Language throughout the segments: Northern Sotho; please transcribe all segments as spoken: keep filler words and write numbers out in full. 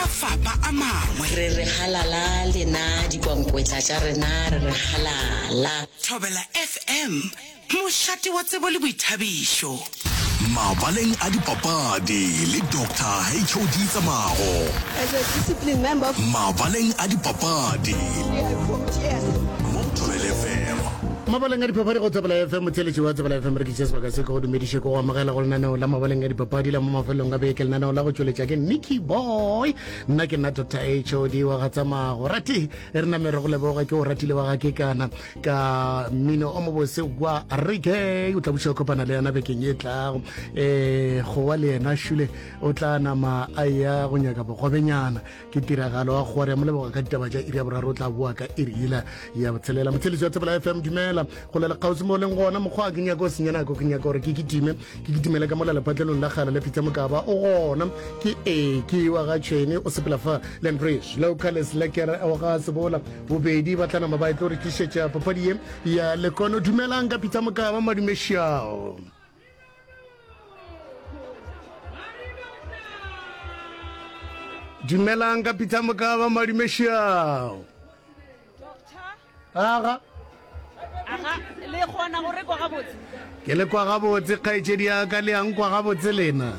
mafapa a mangwe. Re re halala lena dikwankwetla tša rena, re re halala. Thobela F M, mošate wa tsebo le boithabišo. Mabaleng a dipapadi le Doctor H O D Tsamago. As a disciplined member, Mabaleng a dipapadi I vote yes. mo Thobela F M. Mabaleng a dipapadi go Thobela F M. Motheletši wa Thobela F M, re ke tše sebaka se ke go dumediše, ke go amogela go lenaneo la Mabaleng a dipapadi la mo mafelong a beke, lenaneo la go tšweletša ke Nicky Boy. Nna ke nna Doctor H O D wa ga Tsamago. Rate re name re go leboga, ke o ratile wa ga ke kana ka mmino o mobose wa reggae. O tla buša o kopana le yena bekeng e tlago. um gowa le yena šule o tla nama a ya go nyaka bogobenyana, ke tiragalo wa gore mo leboga ka ditaba tša iri ya boraro. O tla boa ka iri ela ya botshelela. Motheletši wa Thobela F M, dumela go lela kgauswi mo o leng gona. Mokgwa ke nyaka o senya nako, ke nyaka gore ke kitime ke kitimele ka mola lepatlelong la kgale le Peter Mokaba. O gona ke e ke wa ga tšhwene, o sepela fa Landbridge Localis Lekere wa ga Sebola. Bobedi ba tla nama ba e tlo re tlišetša papadi ye ya lekono. Dumelang ka Peter Mokaba, madumešao. Dumelang ka Peter Mokaba, madumešao. Aga. Aga, le kgona go rekwa gabotse? Ke le kwa gabotse, kgaetšedi ya ka. Le yang kwa gabotse lena?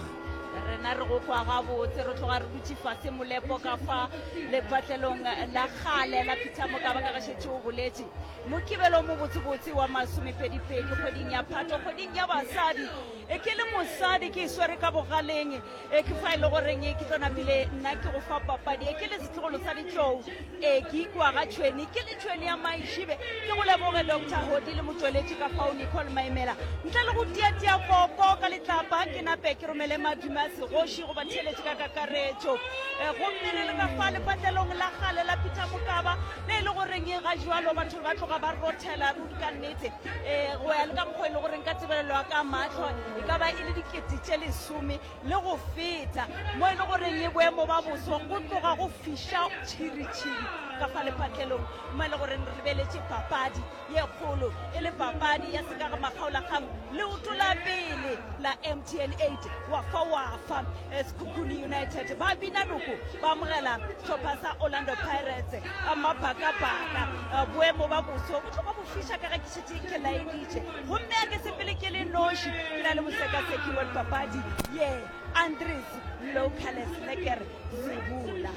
Rena re go kwa gabotse. Re tloga re dutše fase molepo ka fa lepatlelong la kgale la Peter Mokaba, ka ge šetše o boletše. Mokibelo mo botsebotse wa masomepedipedi kgweding ya Phato, kgweding ya basadi. E ke le mosadi ke e swere ka bogaleng. E ke fa e le goreng ke tlo napile nna ke go fa papadi. E ke le setlogolo sa ditlou, e ke ikwa ga tšhweni, ke le tšhweni ya maišibe. Ke go leboge Doctor Hodi le motsweletši ka fao Nicole Maimela. Ntle le go tiatia koko ka letlapa, ke nape ke romele madume a segoši go batheeletši ka kakaretšo. E gomme re le ka fa lepatlelong la kgale la Peter Mokaba, le e le goreng ga jwalo batho ba tloga ba rothela ruri ka nnete. um go ya le ka mokgwa e le goreng ka tebelelo ya ka matlho e ka ba e le dikete tše lesome le go feta, mo e le goreng e boemo ba boso go tloga go fiša tšhiritšhiri ka fa lepatlelong, mo e le goreng re lebeletše papadi ye kgolo, e le papadi ya sekaga makgaolakgang, leoto la pele la M T N eight wa fa wa fa. Sekhukhune United ba bina noko ba amogela sehlopha sa Orlando Pirates a mabhakabhaka. Boemo ba boso bo tloga bo fiša ka ge ke šetše ke laeditše, gomme a ke sepele ke le noši, ke na le mosekaseki wa dipapadi ye Andres Locales Leker Sebola.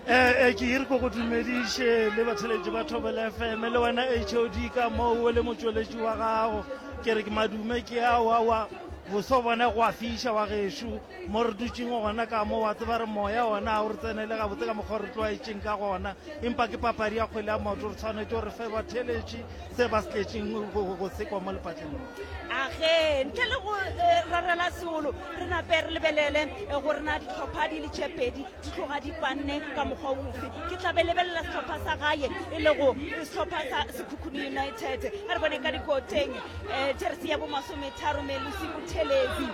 Ee, ke ire ko go dumediše le batheletši ba Thobela F M le wena H O D ka moo le motsweletši wa gago. Ke re ke madume ke aoaoa, boso bone go a fiša wa gešo mo re dutšeng gona ka mo. Wa tseba re moya ona ga o re tsenele gabotse ka mokgwa re tlwaetšeng ka gona, empa ke papadi ya kgwele ya maoto, re tshwanetse gore fe batheletši se ba se tletšeng go sekwa mo lepatlelong. Age, ntle le go eh, rarela seolo, re nape re lebelele eh, gore na ditlhopha di le tše pedi di tloga di panne ka mokgwa ofe. Ke tla be lebelela sehlopha sa gae, e lego sehlopha sa Sekhukhune United. A re bone ka dikoteng. um jeresi ya bomasometharo, Melusi Buthelezi,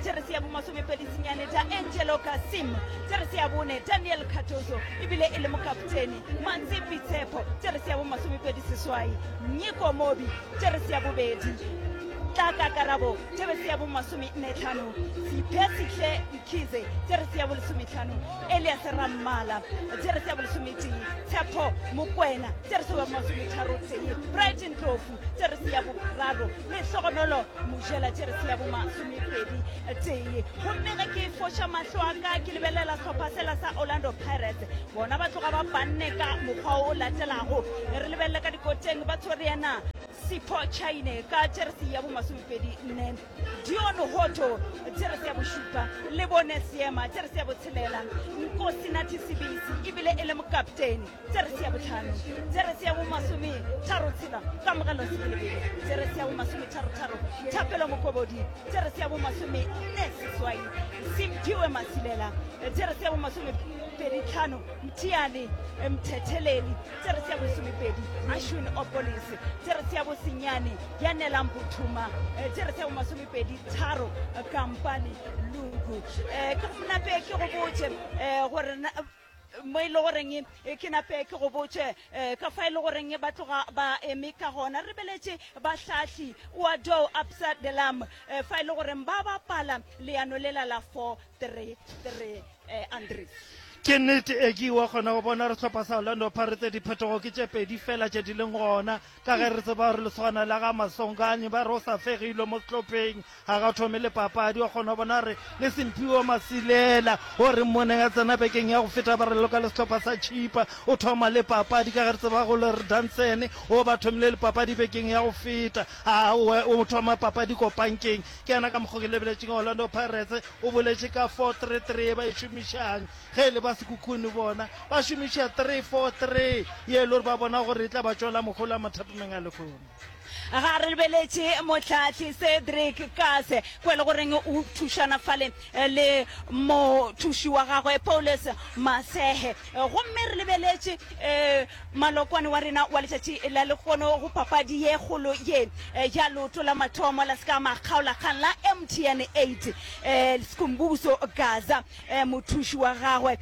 jeresi ya bomasomepedi senyane, da Angelo Kasim, jeresi ya bone, Daniel Cardoso, ebile e le mokaptene, Matsepi Tshepo, jeresi ya bomasomepedi seswai, Nyiko Mobi, jeresi ya bobedi, Tlaka Karabo, jeresi ya bomasome nne tlhano, Siphesihle Mkhize, jeresi ya bolesometlhano, Elias Rammala, jeresi ya bolesometee, Tshepo Mokwena, jeresi ya masometharo tee, Brighton Tlofu, jeresi ya boraro, Lehlogonolo Mojela, jeresi ya bomasomepedi tee. Gomme ge ke foša mahlo a ka ke lebelela sehlopha sela sa Orlando Pirates, bona ba tloga ba panne ka mokgwa o latelago. Re lebelele ka dikoteng, ba tshwere yena Sipho Chaine ka jeresi ya bomasomepedi nne, Dion Hoto, jeresi ya bošupa, le bone Seema, jeresi ya botshelela, Nkosi Nathi Sibisi, ebile e le mokaptene, jeresi ya botlhano, jeresi ya bomasome tharo tshela, Kamogelo Sebelebele, jeresi ya bomasome tharo tharo, Thapelo Mokobodi, jeresi ya bomasome nne seswai, Simphiwe Masilela, jeresi ya bomasome pedi tlhano, Mthiane Mthetheleli, jeresi ya bosomepedi, Ashwin Opolis, jeresi ya bosenyane, Yanelang Bothuma, jeresi ya bomasomepedi tharo, Kampane Lungu. um ke go nape ke go botše um gore mo e le goreng ke nape ke go botše um ka fa e le goreng ba tloga ba eme ka gona. Re beletše bahlahli wa do Absa Delam fa e le goreng ba bapala leano lela la four three three, Andres. Ke nnete e ke wa kgona go bona re sehlopha sa Orlando Pirates diphetogo ke tše pedi fela tše di leng gona ka ge re tseba gore lesogana la ga Masonganye ba re o sa fegilwe mo sehlopheng ga ga thome le papadi wa kgona go bona re le Semphiwe Masilela o re mmoneng a tsena bekeng ya go feta ba re loka le sehlopha sa Chippa o thoma le papadi ka ge re tseba go le re Danson o ba thomile le papadi bekeng ya go feta a o thoma papadi ko pankeng ke yena ka mokgo ke lebeletšeng Orlando Pirates o boletše ka four three three ba e šomišang ge e le ba Sekhukhune bona ba šomiša three four three ye e le gore ba bona gore e tla ba tšwela mohola mathapameng a lehono. Ga re lebeletše mohlahli Cedric Kase kwa e le goreng o thušana fale le mothuši wa gagwe Paulus Masehe. Gomme re lebeletše malokwane wa rena wa letšatši la lehono go papadi ye kgolo ye ya leoto la mathomo la seka makgaolakgang la M T N eight Skhumbuzo Gaza mothuši wa gagwe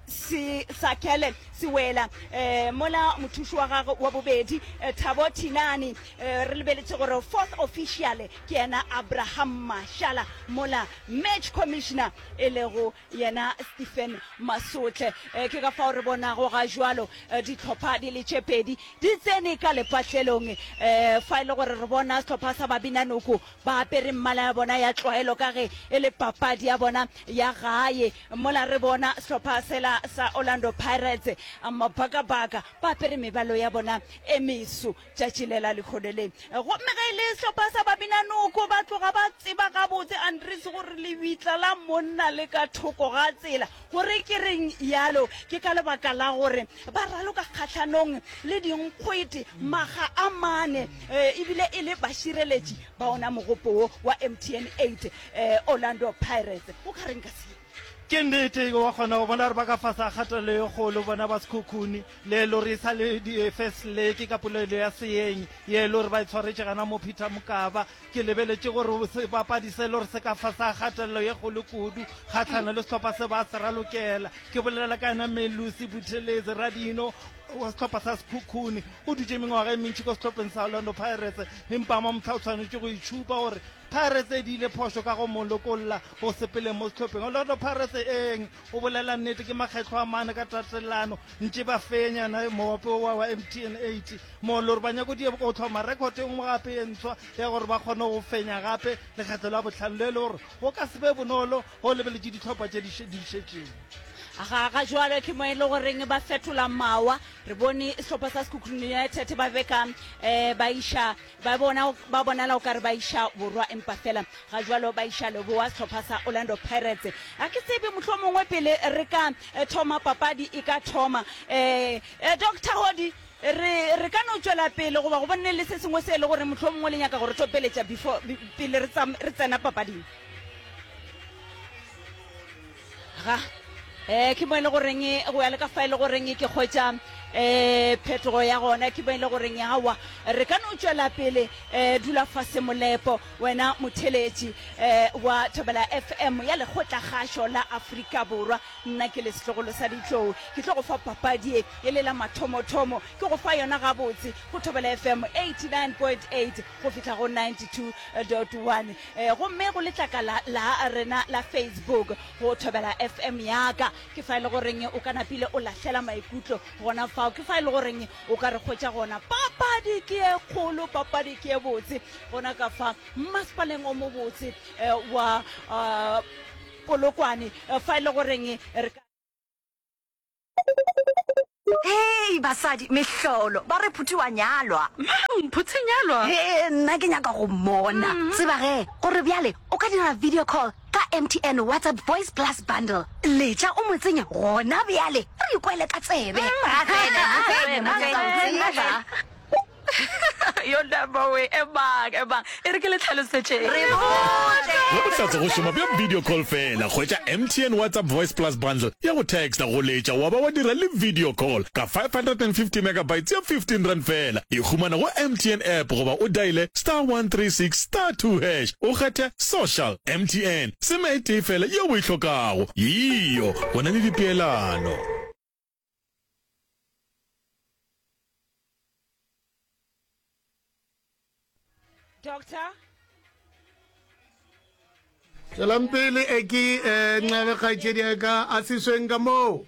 se Sakele Sewela mola mothuši wa gagwe wa bobedi Thabo Thinane. Re lebeletše gore fourth official ke yena Abraham Mashala mola match commissioner e lego yena Stephen Masotle. Ke ka fao re bonago ga jwalo dihlopha di le tše pedi di tsene ka lepatlelong fa e le gore re bona sehlopha sa Babinanoko ba apere mmala ya bona ya tlwaelo ka ge e le papadi ya bona ya gae mola re bona sehlopha sela sa Orlando Pirates mabakabaka ba apere mebalo ya bona e meso tšatši le la lehono le. Gomme ge e le sehlopha sa Babinanoko ba tloga ba tseba gabotse Andries gore lebitla la monna le ka thoko ga tsela. Gore ke reng yalo ke ka lebaka la gore ba raloka kgahlanong le dinkgwete makga a mane ebile e le bašireletši ba ona mogopo wo wa M T N eight Orlando Pirates. O ka reng ka se? Ke nnete wa kgona go bona gore ba ka fase ga kgatelelo ye kgolo bona ba Sekhukhune le e le gore e sa le di-first leg ka polelo ya seeng ye e le gore ba e tshwaretše gana mo Peter Mokaba. Ke lebeletše gore sebapadi se e le gore se ka fase ga kgatelelo ye kgolo kudu kgahlano le sehlopha se ba se ralokela. Ke bolela ka yena Melusi Buthelezi Radino wa sehlopha sa Sekhukhune, o dutše mengwaga e mentši ko sehlopheng sa Orlando Pirates empa mamohla o tshwanetše go itšhupa gore Pirates e diile phošo ka go mo lokolla go sepeleng mo sehlopheng. Orlando Pirates eng o bolela nnete ke makgetlho a mane ka tatelano ntše ba fenya na mogope wa wa M T N eight mo le gore ba nyako die go tlhoma record e nngwe gape e ntshwa ya gore ba kgone go fenya gape lekgetlo la bohlano le le gore go ka se be bonolo go lebeletše dihlopha tše di šetšeng. Ga ga jwalo ke mo e le goreng ba fetola mawa. Re bone sehlopha sa Sekhukhune United ba beka eh, ba iša ba bona ba bonala o kare ba iša borwa empa fela ga jwalo ba iša leboa sehlopha sa Orlando Pirates. A ke tsebe mohlomongwe pele re ka thoma papadi e ka thoma eh, eh, Doctor Hodi re re ka no tšwela pele goba go bonne le se sengwe se e le gore mohlomongwe le nyaka gore topeletša before pele re re tsena papading. Ga eh ke mo e le goreng go ya le ka fa e le goreng ke kgwetša eh phetogo ya gona ke mo e le goreng awa re ka no tšwela pele eh dula fase molepo wena motheletši eh wa Thobela F M ya lekgotlakgašo la Afrika Borwa. Nna ke le setlogolo sa ditlou ke tlo go fa papadi e e le la mathomothomo ke go fa yona gabotse go Thobela F M eighty-nine point eight go fihla go ninety-two dot one eh gomme go letlakala la rena la Facebook go Thobela F M yaka ke fa e le goreng o ka napile o lahlela maikutlo gona fao ke fa e le goreng o ka re kgwetša gona. Papadi ke e kgolo, papadi ke e botse gona ka fa mmasepaleng o mobotse wa Polokwane fa e le goreng re ka Hei basadi, mehlolo, ba re Phuthi wa nyalwa. Mang? Phuthi nyalwa? Hee, nna ke nyaka go mmona. Tseba ge, gore bjale o ka dira video call ka M T N WhatsApp Voice Plus Bundle. Letša o mo tsenye gona bjale, re ikwele ka tsebe. Yo number we, emang, emang, e re ke le tlhalosetšeng. Re botše. Ge bohlatse go šoma bja video call fela, hwetša M T N WhatsApp Voice Plus Bundle ya go texta, go letša wa ba wa dira le video call ka five hundred and fifty megabytes ya fifteen rand fela. E humana go M T N app goba o diale star one three six star two hash o kgethe social. M T N, seme e tee fela yeo o e hlokago. Yeo, go na le dipeelano. Doctor? Tswelang pele e ke eh, nxabe kgaetšedi ya ka a sesweng ka moo.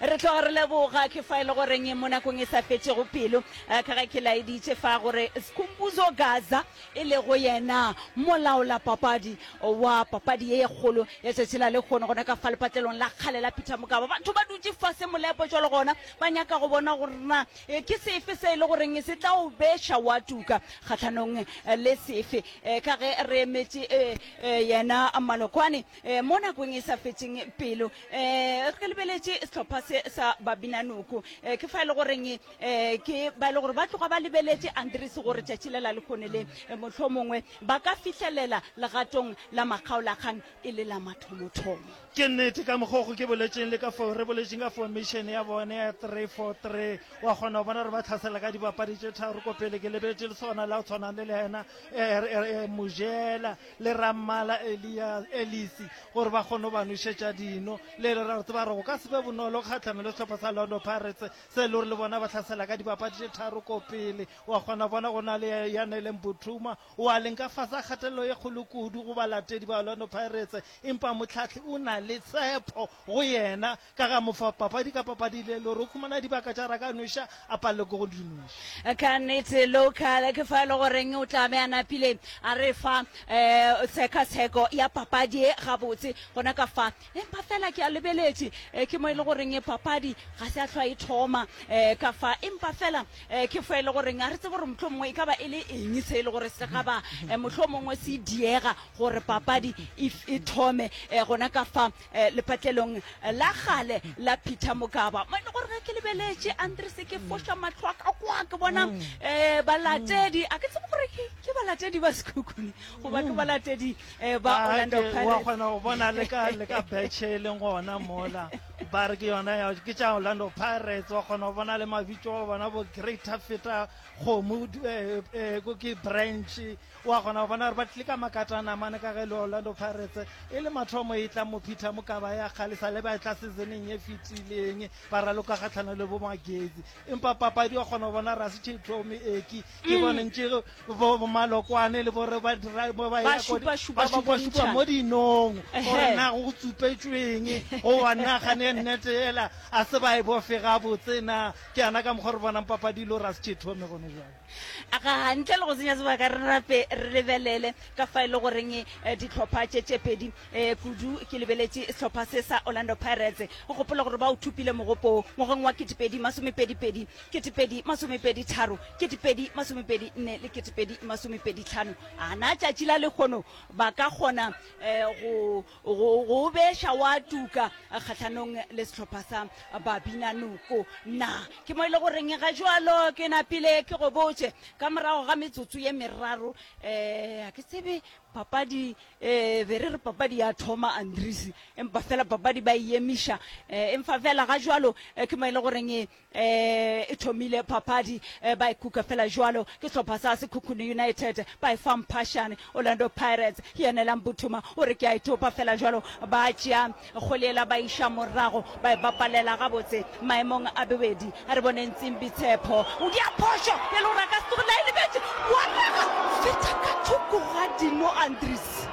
Re tloga re leboga ke fa e le goreng mo nakong e sa fetšego pelo eh, ka ge ke laeditše fa gore Skhumbuzo Gaza e lego yena molaolapapadi wa papadi ye kgolo ya tšatši la lehono gona ka fa lepatlelong la kgale la Peter Mokaba. Batho ba dutše fase molepo jwalo gona ba nyaka go bona gore na eh, ke sefe se e le goreng se tla o beša wa tuka kgahlanong eh, le sefe eh, ka ge re emetše eh, eh, yena Malokwane eh, mo nakong e sa fetšeng pelo eh, re lebeletše sehlopha se sa Babinanoko eh, ke fa e le goreng eh, ke ba e le gore ba tloga ba lebeletše Andries gore tšatši le la lehono le eh, mohlomongwe ba ka fihlelela legatong la makgaolakgang e le la mathomothomo. Ke nnete ka mokgwa go ke boletšeng le ka fao re boletšeng ka formation ya bone ya three four three, wa kgona go bona gore ba tlhasela ka dibapadi tše tharo ko pele. Ke lebeletše le sona la go tshwana le le yena eh, eh, Mojela le Rammala Elias Elisi gore ba kgone go ba nošetša dino. Le le ra go tseba gore go ka se be bonolo kgatlhanong le sehlopha sa Orlando Pirates se e le gore le bona ba tlhasela ka dibapadi tše tharo ko pele. Wa kgona go bona go na le Yanele Mbuthuma o a leng ka fase ga kgatelelo ye kgolo kudu go balatedi ba Orlando Pirates, empa mohlahli o na le tshepo go yena ka ga mofa papadi ka papadi le le gore o khumana dibaka tša raka nweša a palelwe ke go di nweša. Ka nnete local ke fa e le goreng o tla be a napile a re fa um tshekatsheko ya papadi e gabotse gona ka fa, empa fela ke a lebeletše eh, ke mo e le goreng papadi ga se a hlwa e thoma um ka fa, empa fela um ke fa e le goreng a re tsebe gore mohlomongwe e ka ba e le eng se e le gore se ga ba eh, mohlomongwe se diega gore papadi e, e thome eh, gona ka fa eh, lepatlelong la gale la Peter Mokaba mo e le gore ge ke lebeletše Andres ke foša mahlo a ka kwa ke bona um balatedi a ke tsebe gore ke ke balatedi ba Sekhukhune goba ke balatedi eh, ba Ah, Orlando ke- wa Pirates. kgona go bona le ka le ka betšhe e leng gona mola ba re ke yona ya ke tša Orlando Pirates. Wa kgona go bona le mabitso a bona bo Greater Feta Kgomo eh, eh, ko ke branch. Wa kgona go bona gore ba tlile ka makatana mane ka ge le Orlando Pirates e le mathomo e tla mo Peter Mokaba ya kgale sa le ba e tla seasoneng e fetileng ba raloka kgatlhano le bo Magezi, empa papadi wa kgona go bona gore a se tšhe thome eki ke bone ntše bo bo Malokwane le bore ba dira bo ba Ba ya ko di- šupašupa, ba ba šupašupa bontšhana. mo dinong gore Ehe. na go tsupetšweng goba na gane nnete ela a se ba e bofe gabotse na. Ke yana ka mokgwa re bonang papadi le gore a se tšhe thome gone jwale. Ga ntle le go senya sebaka re rape re lebelele ka fa e le goreng eh, dihlopha tše tše pedi eh, kudu ke lebeletše sehlopha se sa Orlando Pirates. O gopola gore ba o thupile mogopo ngwageng wa ketepedi masomepedi pedi, ketepedi masomepedi tharo, ketepedi masomepedi nne le ketepedi masomepedi tlhano. A na tšatši la lehono ba ka kgona eh, go go go beša wa tuka eh, kgahlanong le sehlopha sa Babinanoko na? Ke mo e le goreng ga jwalo ke napile ke go botše ka morago ga metsotso ye meraro um a ke tsebe papadi um be re re papadi ya thoma Andries, empa fela papadi ba e emiša um empa fela ga jwalo eh, ke mo e le goreng um e thomile papadi eh, ba e kuka fela jwalo ke sehlopha sa Sekhukhune United ba e fa mphašane Orlando Pirates yenela Mbuthuma o re ke a e topa fela jwalo ba tšea kgwele ba iša morago ba e bapalela gabotse maemong a bobedi. A re boneng Tsimbi Tshepo o dia phošo e le gore a ka se tsoge la e lebetše wa raga feta ka thoko ga dino Andries.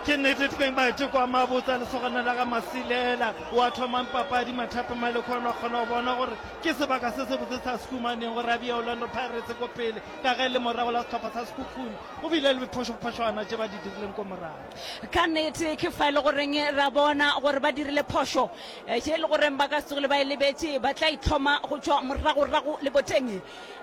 Ke nnete teng maiteko a mabotse a lesogana la ga Masilela wa thomang papadi Mathape Malekwane. Wa kgona go bona gore ke sebaka se sebotse sa se humaneng gore a bea Orlando Pirates ko pele ka ge le morago la sehlopha sa Sekhukhune go bile le phošophošwana tše ba di dirileng ko morago. Ka nnete ke fa e le goreng ra bona gore ba dirile phošo eh, tše e le goreng ba ka se tsogile ba e lebetše ba tla itlhoma go tšwa moragorago le boteng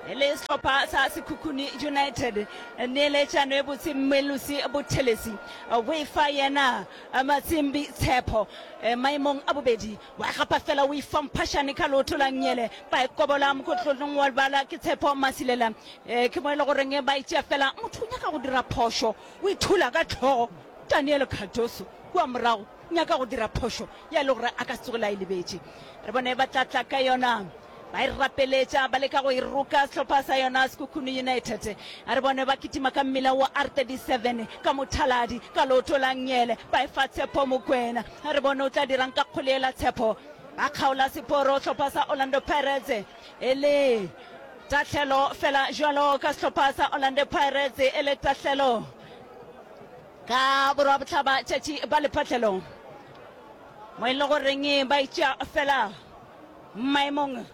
le sehlopha sa Sekhukhune United. Neeletšano e botse Melusi Bothelesi o e fa yena Matsimbi Tshepo eh, maemong a bobedi wa gapa fela o e fa mphašane ka leoto la nnyele ba e kobola mokotlong wa lebala ke Tshepo Masilela eh, ke mo e le goreng ba e tšea fela motho o nyaka go dira phošo o ithula ka tlhogo Daniel Cardoso kua morago nyaka go dira phošo ya le gore a ka se tsogile a e lebetše. Re bone ba tla tla ka yona ba e rapeletša ba leka go e roka sehlopha sa yona Sekhukhune United. A re bone ba kitima ka mmila wa R thirty-seven ka mothaladi ka leoto la nnyele ba e fa Tshepo Mokwena. A re bone o tla dirang ka kgwele ela Tshepo ba kgaola seporo sehlopha sa Orlando Pirates e le tahlelo fela jwalo ka sehlopha sa Orlando Pirates e le tahlelo. Ka borwa bohlaba tšatši ba lephatlelo mo e le goreng ba itšea fela maemong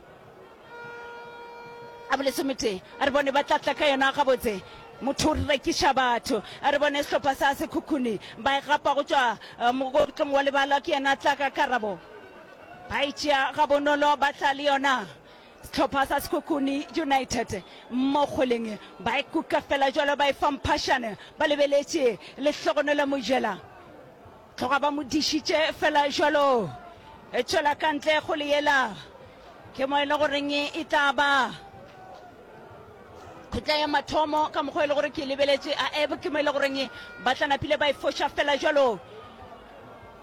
a bolesometee. A re bone ba tla tla ka yona gabotse. Motho o rekiša batho. A re bone sehlopha sa Sekhukhune ba e gapa go tšwa mogotlong wa lebala. Ke yena a tla ka karabo. Ba e tšea gabonolo ba tla le yona. Sehlopha sa Sekhukhune United mo kgweleng ba e kuka fela jwalo ba e fa Mphašane ba lebeletše Lehlogonolo Mojela. Tloga ba mo dišitše fela jwalo. E tšwela ka ntle kgwele yela. Ke mo e le goreng e tla ba khutla ya mathomo ka mokgwa e le gore ke e lebeletše a eb ke mo e le goreng ba tla napile ba e foša fela jwalo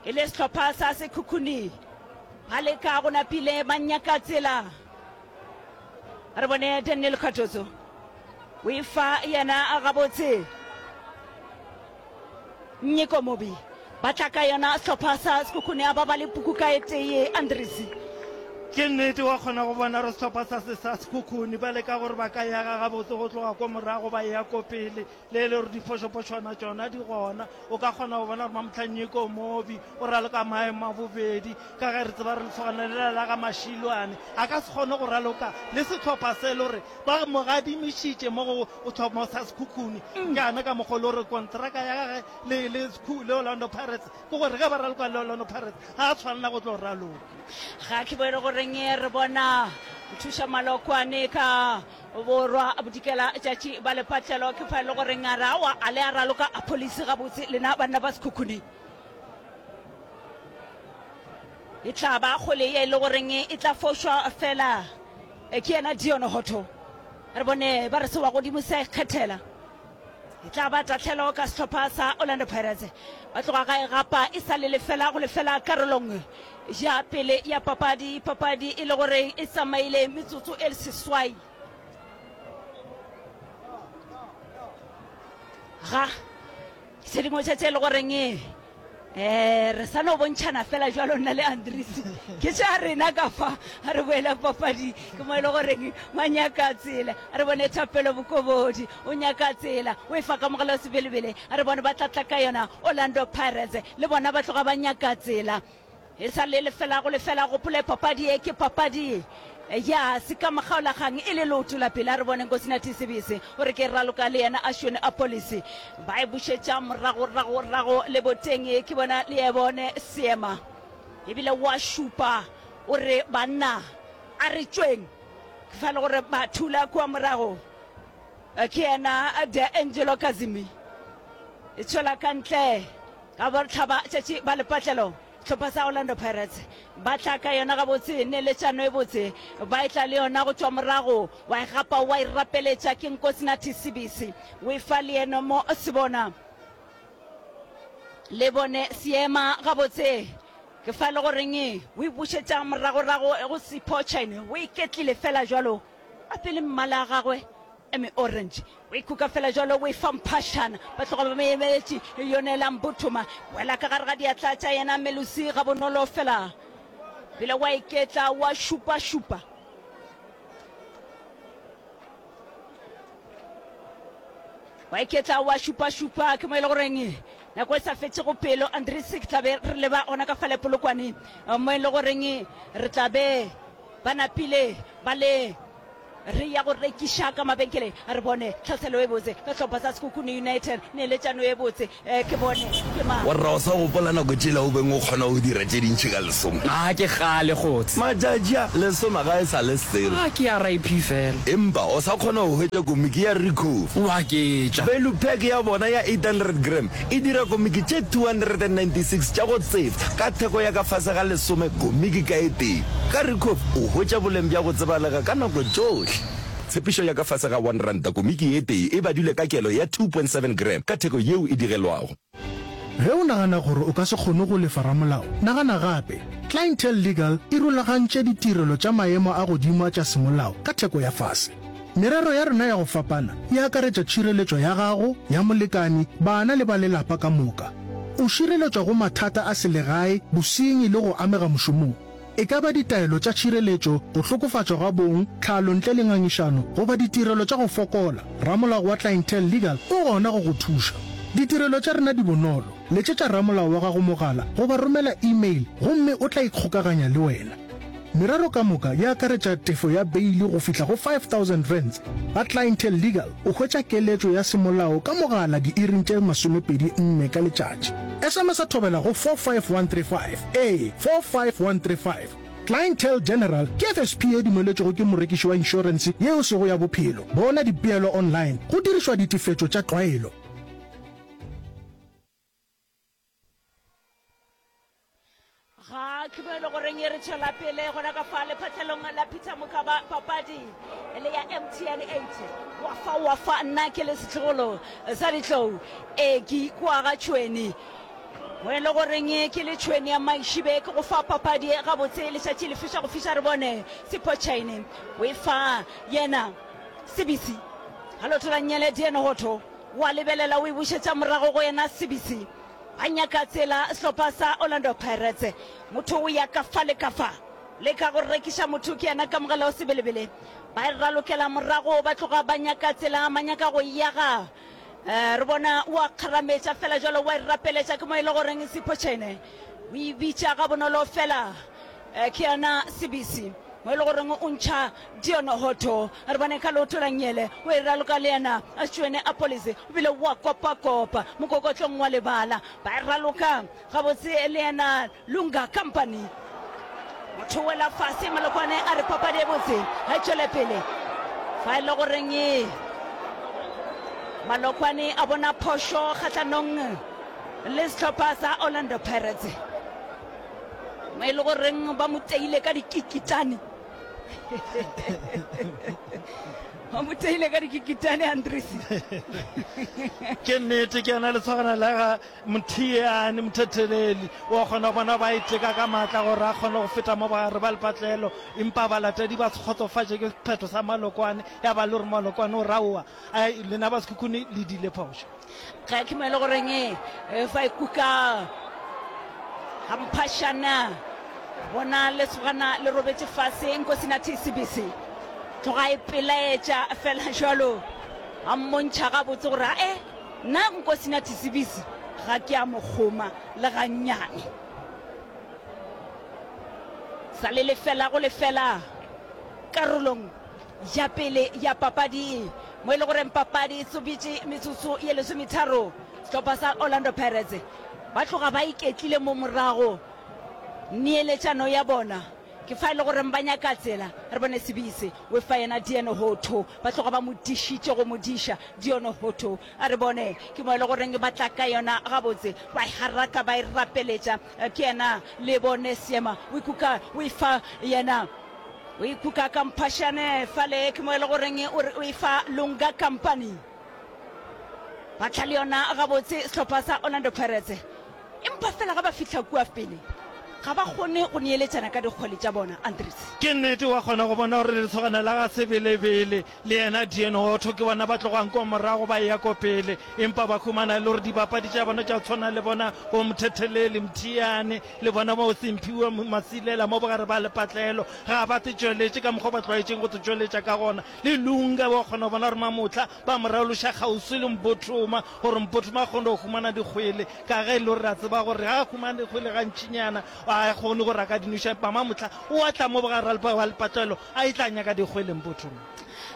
e le sehlopha sa Sekhukhune ba leka go napile ba nyaka tsela. Re bone Daniel Cardoso o e fa yena gabotse. Nyeko Mobi ba tla ka yona sehlopha sa Sekhukhune a ba ba le puku ka e tee Andries. Ke nnete wa kgona go bona gore sehlopha sa se sa Sekhukhune ba leka gore ba ka yaga gabotse go tloga ko morago ba eya ko pele le e le gore diphošophošwana tšona di gona. O ka kgona go bona gore Mamohla Nyeko Mobi o raloka maemo a bobedi ka ge re tseba re lesogana lela la ga Mashilwane a ka se kgone go raloka le sehlopha se le gore ba mo gadimišitše mo go sehlopha sa Sekhukhune. Ke ka mokgwa le gore kontraka ya gage le, le, le Orlando Pirates ke gore ge ba raloka le Orlando Pirates ga a tshwanela go tlo raloka. Ga ke bone goreng re bona Nthuša Malokwane ka borwa bodikela tšatši ba lepatlelo ke fa e le goreng a re aowa a le a raloka a police gabotse lena banna ba Sekhukhune. E tla ba kgole ye e le goreng e tla fošwa fela ke yena Dion Hotto. Re bone ba re se wa godimo se a ikgethela. E tla ba tahlelo ka sehlopha sa Orlando Pirates. Ba tloga ga e gapa e sa le lefela go lefela karolong ya pele ya papadi. Papadi e le gore e tsamaile metsotso e seswai. Ga tše dingwe tša tše e le goreng um re sa no bontšhana fela jwalo nna le Andries ke tša rena ka fa a re boela papadi ke mo e le goreng ba nyaka tsela a re bone Thapelo Bokobodi o nyaka tsela o e fa kamogelo sebelebele a re bone ba tla tla ka yona Orlando Pirates le bona ba tloga ba nyaka tsela E sa le lefela go lefela, gopole papadi ye ke papadi ya sekamokgaolakgang e le leoto la pele. A re bone Nkosinathi Sibisi o re ke raloka le yena Ashwin Appollis. Ba e bušetša moragoragorago leboteng, ke bona le e bone seema ebile wa šupa o re banna a re tšweng. Ke fa le gore ba thula kua morago ke yena D'Angelo Kazimi e tšwela ka ntle ka bohlaba tšatši ba lepatlelo. Sehlopha sa Orlando Pirates ba tla ka yona gabotse, neeletšano e botse, ba etla le yona go tšwa morago, wa e gapa wa e rapeletša ke Nkosinathi Sibisi, o e fa leeno mo Sebona le bone seema gabotse, ke fa le goreng o e bušetša moragorago go Sipho Chaine, o iketlile fela jwalo, a pele mmala a gagwe Eme Orange o e kuka fela jwalo o e fa mphašana. Ba tloga ba mo emeletše Yonela Mbuthuma. Wela ka gare ga diatla tša yena Melusi gabonolo fela. Bile wa iketla wa šupašupa. Wa iketla wa šupašupa ke mo e le goreng nako e sa fetšego pelo Andries ke tla be re leba gona ka fale Polokwane mo e le goreng re tla be ba napile ba le Re ya go rekiša ka mabenkeleng. Re bone tlhaselo e botse ka sehlopha sa Sekhukhune United. Neeletšano e botse. Ke bone ke mang. Warra o sa gopola nako tšela o beng o kgona go dira tše dintši ka lesome? A ke kgale kgotse. Matšatši a, lesome ga e sa le selo. A ke R I P fela. Empa o sa kgona go hwetša komiki ya Ricoh. O a ketša. Value pack ya bona ya eight hundred gram e dira komiki tše two hundred and ninety six tša go tsefa ka theko ya ka fase ga lesome komiki ka e tee. Ka Ricoh o hwetša boleng bja go tsebalega ka nako tšohle. Tshepišo ya ka fase ga one ranta komiki e tee e badilwe ka kelo ya two point seven gram ka theko yeo e digelwago. Ge o nagana gore o ka se kgone go lefa ramolao, nagana gape. Clientele Legal e rulagantše ditirelo tša maemo a godimo a tša semolao ka theko ya fase. Merero ya rena ya go fapana e akaretša tšhireletšo ya gago, ya molekane, bana le ba lelapa ka moka. O šireletšwa go mathata a selegae, bosenyi le go amega mošomong. E ka ba ditaelo tša tšhireletšo, go hlokofatšwa ga bong, tlhalo ntle le ngangišano, goba ditirelo tša go fokola, ramolao wa Clientele Legal o gona go go thuša. Ditirelo tša rena di bonolo, letšetša ramolao wa gago mogala goba romela email gomme o tla ikgokaganya le wena. Merero ka moka e akaretša tefo ya beili go fihla go five thousand rands. Ga Clientele Legal o hwetša keletšo ya semolao ka mogala diiring tše masomepedi nne ka letšatši. S M S Thobela go four five one three five, ee, four five one three five. Clientele General ke F S P ye dumeletšwego ke morekiši wa inšorense ye e sego ya bophelo. Bona dipeelo online go dirišwa ditefetšo tša tlwaelo. Ga ke mo e le goreng e re tšwela pele gona ka fa lephatlhelong la Peter Mokaba papadi le ya M T N eight. Wa fa wa fa nna ke le setlogolo sa ditlou e ke ikwa ga tšhweni mo e le goreng ke le tšhweni ya maišibe ke go fa papadi e gabotse letšatši le fiša go fiša re bone Sipho Chaine o e fa yena Sibisi ga lotola nnyele Diene Hotho wa lebelela o e bušetša morago go yena Sibisi. Ba nyaka tsela sehlopha sa Orlando Pirates. Motho o ya ka fa le ka fa. Leka go rekiša motho ke yena Kamogelo Sebelebele. Ba e ralokela morago ba tloga ba nyaka tsela ba nyaka go e aga. Re bona o a kgarametša fela jwalo wa e rapeletša ke mo e le goreng Sipho Chaine o e bitša gabonolo fela ke yena Sibisi mo e le goreng o ntšha Dion Hotto. Re bone ka leoto la nngele o e raloka le yena Tšwene Appollis o bile wa kopakopa mokokotlong wa lebala. Ba e raloka gabotse le yena Lunga Company. Motho o wela fase Malokwane a re papadi e botse ga e tšwele pele. Fa e le goreng Malokwane a bona phošo kgahlanong le sehlopha sa Orlando Pirates. Mo e le goreng ba mo teile ka dikikitane. Ba mo teile ka dikikitane Andries. Ke nnete ke yena lesogana la ga Mothiane Mothetheleli. Wa kgona go bona ba iteka ka maatla gore a kgone go feta mo bogare ba lepatlelo, empa balatedi ba se kgotsofatše ke sephetho sa Malokwane, ya ba le gore Malokwane o raowa, Ai, lena ba Sekhukhune le dile phošo. Ge ke mo e le goreng e fa e kuka ga mphašana, bona lesogana le robetše fase, Nkosinathi Sibisi tloga e pelaetša fela jwalo, a mmontšha gabotse gore ae nna Nkosinathi Sibisi ga ke a mo kgoma le gannyane. Sa le lefela go lefela karolong ya pele ya papadi mo e le goreng papadi e tsobitše metsotso ye lesometharo. Sehlopha sa Orlando Pirates ba tloga ba iketlile mo morago neeletšano ya bona ke fa e le goreng ba nyaka tsela. Re bone Sibisi we fa yena Dion Hotto, ba tloga ba mo dišitše go mo diša Dion Hotto. A re bone ke mo e le goreng ba tla ka yona gabotse, ba e haraka ba e rapeletša ke yena le bone Seema we kuka we fa yena O ikuka ka mphašane fale, ke mo e le goreng o re o e fa Lunga Company. Ba tla le yona gabotse sehlopha sa Orlando Pirates, empa fela ga ba fihla kua pele ga ba kgone go neeletšana ka dikgwele tša bona. Andries. Ke nnete, wa kgona go bona gore lesogana la ga Sebelebele le yena Deon Hotto ke bona ba tlogang ko morago ba eya ko pele, empa ba humana e le gore dibapadi tša bona tša go tshwana le bona bo Mthetheleli Mthiyane le bona bo Simphiwe Masilela mo bogare ba lepatlelo ga ba te tšweletše ka mokgwa ba tlwaetšeng go te tšweletša ka gona. Le Lunga wa kgona go bona gore Mamohla ba mo raloša kgauswi le Mpothoma gore Mpothoma a kgone go humana dikgwele ka ge e le gore re a tseba gore ga a humane dikgwele gantšinyana ga a kgone gore a ka di noša, empa Mamohla o a tla mo bogare ba lepatlelo a e tla nyaka dikgwele Mpothoma.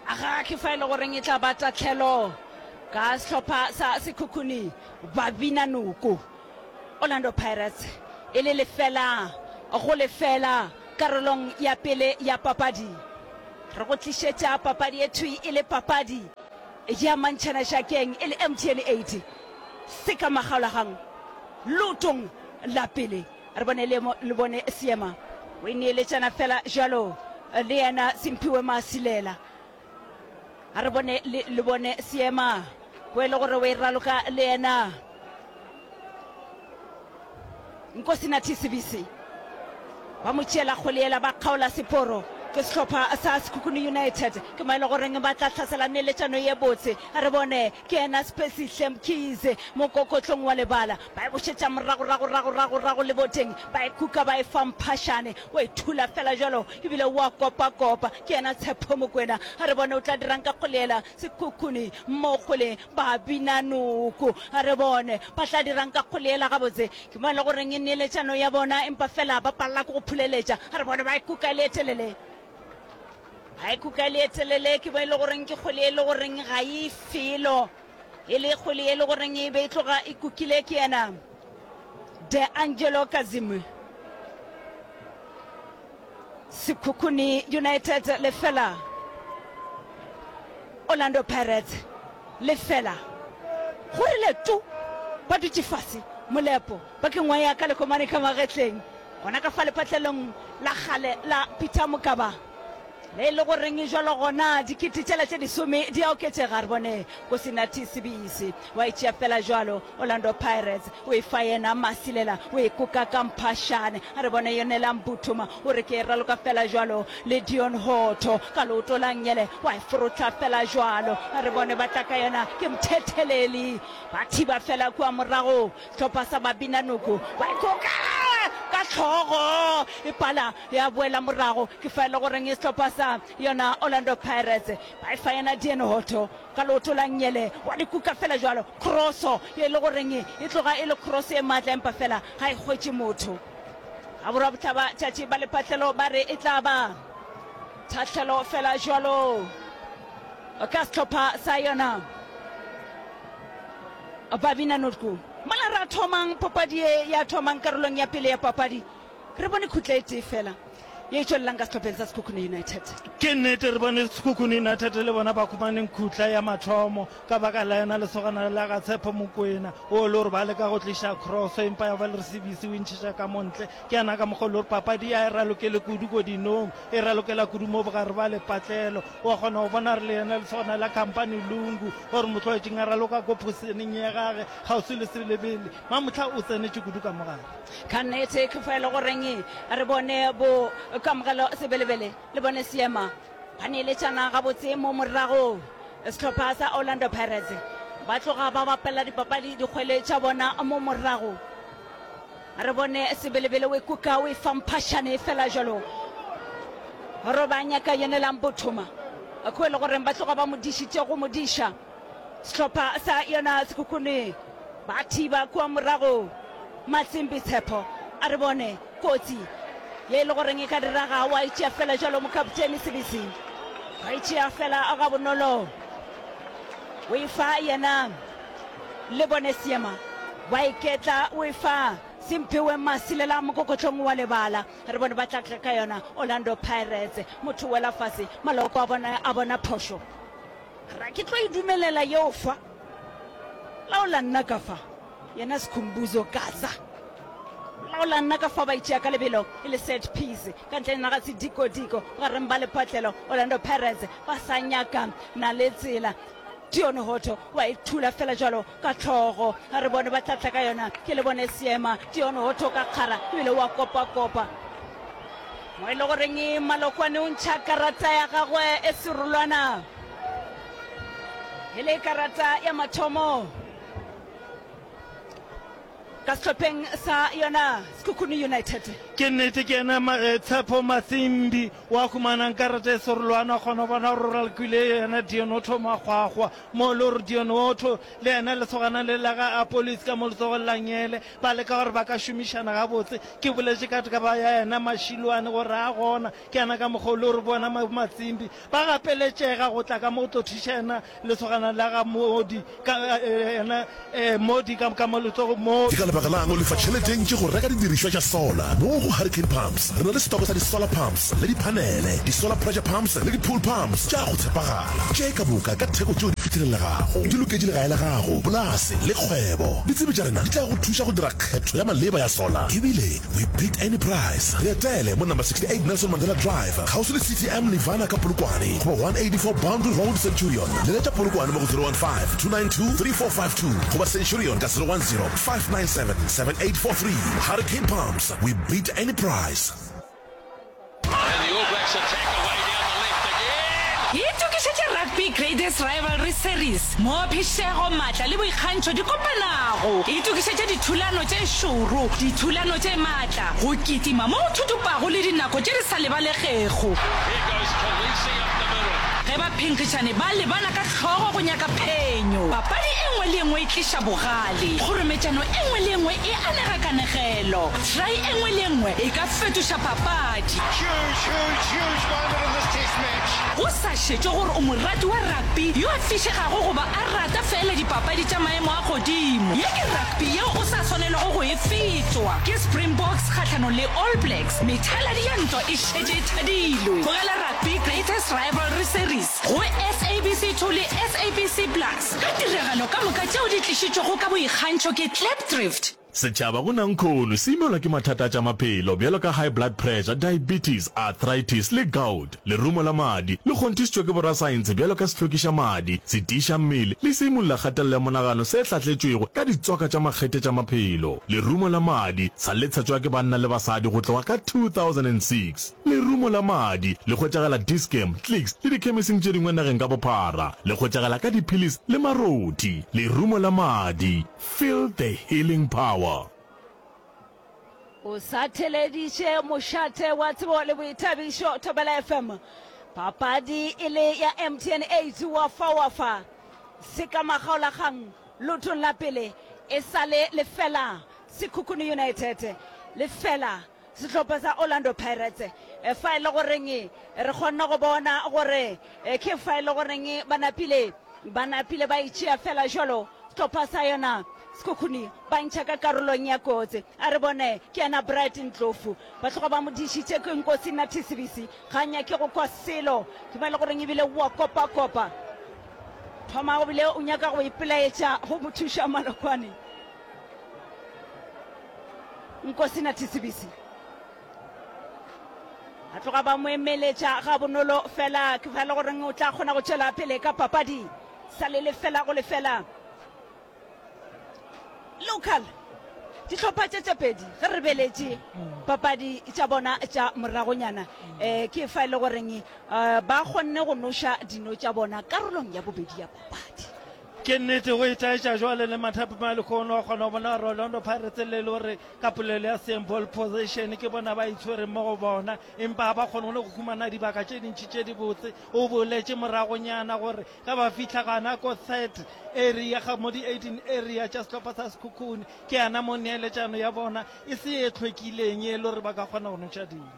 Ga ke fa e le goreng e tla ba tahlelo ka sehlopha sa Sekhukhune ba bina noko. Orlando Pirates e le lefela go lefela karolong ya pele ya papadi. Re go tlišetša papadi e thwi e le papadi ya mantšhana šakeng e le M T N eight se ka makgaolagang leotong la pele. Re bone le, le bone seema o e neeletšana fela jalo le yena Simphiwe Masilela. A re bone le, le bone seema o e le gore o e raloka le yena Nkosinathi Sibisi. Ba mo tšeela kgwele yela ba kgaola seporo. Ke sehlopha sa Sekhukhune United ke mo e le goreng ba tla hlasela neeletšano ye botse. A re bone, ke yena Siphesihle Mkhize mokokotlong wa lebala. Ba e bošetša morago, rago, rago, rago, rago leboteng. Ba e kuka ba e fa Mphašane. O e thula fela bjalo ebile o a kopakopa. Ke yena Tshepo Mokwena. A re bone o tla dirang ka kgwele yela. Sekhukhune mo kgweleng ba bina noko. A re bone ba tla dirang ka kgwele yela gabotse. Ke mo e le goreng neeletšano ya bona empa fela ba palela ke go phuleletša. A re bone ba e kuka e le e telele. Ga e kuka le e telele, ke mo e le goreng ke kgwele e le goreng ga e felo. E le kgwele e le goreng e be e tloga e kukile ke yena De Angelo Kazim. Sekhukhune United lefela, Orlando Pirates lefela. Go rile tu, ba dutše fase, Molepo ba ke ngwaya ka lekomane ka magetleng. Gona ka fa lepatlelong la kgale la Peter Mokaba, le e le goreng jwalo gona dikete tšela tše disome di a oketšega. Re bone Nkosinathi Sibisi wa e tšea fela jwalo, Orlando Pirates o e fa yena Masilela, o e kuka ka mphašane. A re bone Yonela Mbuthuma o re ke e raloka fela jwalo le Dion Hotto ka leoto la nngele wa e frotla fela jwalo. A re bone ba tla ka yona ke Mthetheleli, ba thiba fela kua morago. Sehlopha sa Babinanoko ba ikoka ka hlogo e pala ya boela morago. Ke fa e le goreng sehlopha sa yona Orlando Pirates ba e fa yena Dean Hotto ka leoto la nngele wa di kuka fela jwalo. Crosso ye e le goreng e tloga e le cross e matla empa fela ga e hwetše motho. Ga borwabohlaba tšatši ba lepatlelo ba re e tla ba tahlelo fela jwalo ka sehlopha sa yona Babina Notku. Mola ra thomang papadi ye ya thomang karolong ya pele ya papadi, re bone khutla e tee fela ye e tšwelelang ka sehlopheng sa Sekhukhune United. Ke nnete, re bone Sekhukhune United le bona ba humaneng khutla ya mathomo ka baka la yena lesogana la ga Tshepo Mokoena o le gore ba leka go tliša cross empa ya ba le re Sibisi o e ntšhetša ka mo ntle. Ke yana ka mokgwa o le gore papadi ya e ralokele kudu ko dinong, e ralokela kudu mo bogare ba lepatlelo. Wa kgona go bona re le yena lesogana la Khampani Lungu gore motlwaetšing a raloka ko phoseneng ya gage kgauswi le Sebelebele. Mamohla o tsenetše kudu ka mo gare. Ka nnete ke fa e le goreng re bone bo Kamogelo Sebelebele le bone Seema ba neeletšana gabotse mo morago. Sehlopha sa Orlando Pirates ba tloga ba bapela dipapadi dikgwele tša bona mo morago. Re bone Sebelebele o e kuka o e fa Mphašane fela jalo. Roba nyaka yenelang Bothoma ko e le goreng ba tloga ba mo dišitše go mo diša. Sehlopha sa yona Sekhukhune ba thiba kua morago. Matsimbi Tshepo a re bone kotsi ye e le goreng e ka diraga wa e tšea fela jalo mokaptene Sebisi wa e tšea fela gabonolo o e fa yena le bone Seema wa iketla o e fa Simphiwe Masilela mokokotlong wa lebala. Re bone ba tla tla ka yona Orlando Pirates. Motho wela fase, maloko a bona a bona phošo. Ra ke tlo e dumelela yeo fa. Laola nna ka fa. Yena Sikhumbuzo Gaza. Laola nna ka fa ba itšea ka lebelo e le set piece ka ntle naga sedikodiko gareng ba lepatlelo Orlando Pirates ba sa nyaka na le tsela. Dion Hotto wa e thula fela jwalo ka hlogo. A re bone ba tla tla ka yona. Ke le bone seema. Dion Hotto ka kgara ebile wa kopakopa. Mo e le goreng Malokwane o ntšha karata ya gagwe e serolwana. E le karata ya mathomo ka sehlopheng sa yona Sekhukhune United. Ke nnete ke yena Tshepo Matsimbi wa humanang karata e serolwana, a kgona go bona gore o ralokile yena Dionotho Makgwakgwa mo le gore Dionotho le yena lesogana le la ga Appollis ka mo letsogong la ngele ba leka gore ba ka šomišana gabotse. Ke boletše ka taba ya yena Mashilwane gore a gona ke yena ka mokgwa o le gore bona Matsimbi ba gapeletšega go tla ka mo go tlo thuša yena Lesogana la ga Modi ka yena Modi ka ka mo letsogo mo. Ke ka lebaka la'ng o lefa tšhelete e ntši go reka didirišwa tša solar? Mo go Hurricane Pumps re na le setoko sa di-solar pumps le diphanele, di-solar pressure pumps le di-pool pumps tša go tshepagala, tše ka moka ka theko tšeo di fihlelelegago. Di loketše legae la gago, polase le kgwebo. Ditsebi tša rena di tla go thuša go dira kgetho ya maleba ya solar ebile We beat any price. Re etele mo number sixty eight Nelson Mandela Drive, kgauswi le C T M Nirvana ka Polokwane, goba one eighty four Boundary Road, Centurion. Leletša Polokwane mo go zero one five, two nine two, three four five two goba Centurion ka zero one zero, five nine seven, seven eight four three. Hurricane Pumps, we beat any price. And the All Blacks attack away. Rugby Greatest Rivalry Series, moo phišego, maatla le boikgantšho di kopanago. Itokišetše dithulano tše šoro, dithulano tše maatla, go kitima mo go thuthupago le dinako tše di sa lebalegego. Ge baphenkgišani ba lebana ka hlogo go nyaka phenyo, papadi e nngwe le e nngwe e tliša bogale, kgorometšano e nngwe le e nngwe e anega kanegelo, try e nngwe le e nngwe e ka fetoša papadi. Go sa šetšwe gore o morati wa rugby yo a fišegago goba a rata feela dipapadi tša maemo a godimo, ye ke rugby yeo o sa swanelago go e fetwa. Ke Springboks kgahlanong le All Blacks, methaladi ya ntwa e šetše e thadilwe. Bogela Rugby Greatest Rivalry Series go S A B C two le S A B C Plus ka tiragalo ka moka tšeo di tlišitšwego ka boikgantšho ke Klipdrift. Setšhaba go nankhono se imelwa ke mathata a tša maphelo bjalo ka high blood pressure, diabetes, arthritis le gout. Lerumo la madi le kgonthišitšwe ke borasaense bjalo ka sehlwekiša madi, setiiša mmele le seimolla kgatelelo ya monagano se hlahletšwego ka ditswaka tša makgethe tša maphelo. Lerumo la madi sa le tshetšwa ke banna le basadi go tloga ka two thousand and six Lerumo la madi le hwetšagala Dis-Chem, Clicks le dikhemising tše dingwe nageng ka bophara. Le hwetšagala ka diphilisi le marothi. Lerumo la madi, feel the healing power. O sa theleditše mošate wa tsebo le boithabišo Thobela F M. Papadi e le ya M T N eight wa fa wa fa se ka makgaolakgang lotong la pele e sa le lefela Sekhukhune United lefela sehlopha sa Orlando Pirates. Fa e le goreng re kgonne go bona gore ke fa e le goreng ba napile ba napile ba itšea fela jalo sehlopha sa yona Sekhukhune ba ntšha ka karolong ya kotsi. A re bone ke yena Bright Ndlovu ba tloga ba mo dišitše ke Nkosi Nathi Sibisi ga a nyake go kwa selo ke mo e le goreng ebile wa kopakopa thoma o bile o nyaka go ipelaetša go mo thuša Malokwane. Nkosi Nathi Sibisi a tloga ba mo emeletša ga bonolo fela ke fa le goreng o tla kgona go tšwela pele ka papadi sa le lefela go lefela. Local dihlopha tše tše pedi ge re beletše papadi tša bona tša moragonyana um ke fa e le goreng um ba kgonne go noša dino tša bona karolong ya bobedi ya papadi. Ke nnete go itaetša jwale le mathapama a lehono wa kgona go bona gore Orlando Pirates le le gore ka polelo ya seng ball possession ke bona ba itshwereng mo go bona empa ga ba kgone le go humana dibaka tše dintši tše dibotse. O boletše moragonyana gore ge ba fihla gana ko third area ga mo di eighteen area tša sehlopha sa Sekhukhune ke yana mo neeletšano ya bona e se ye hlwekileng e le gore ba ka kgona go noša dino.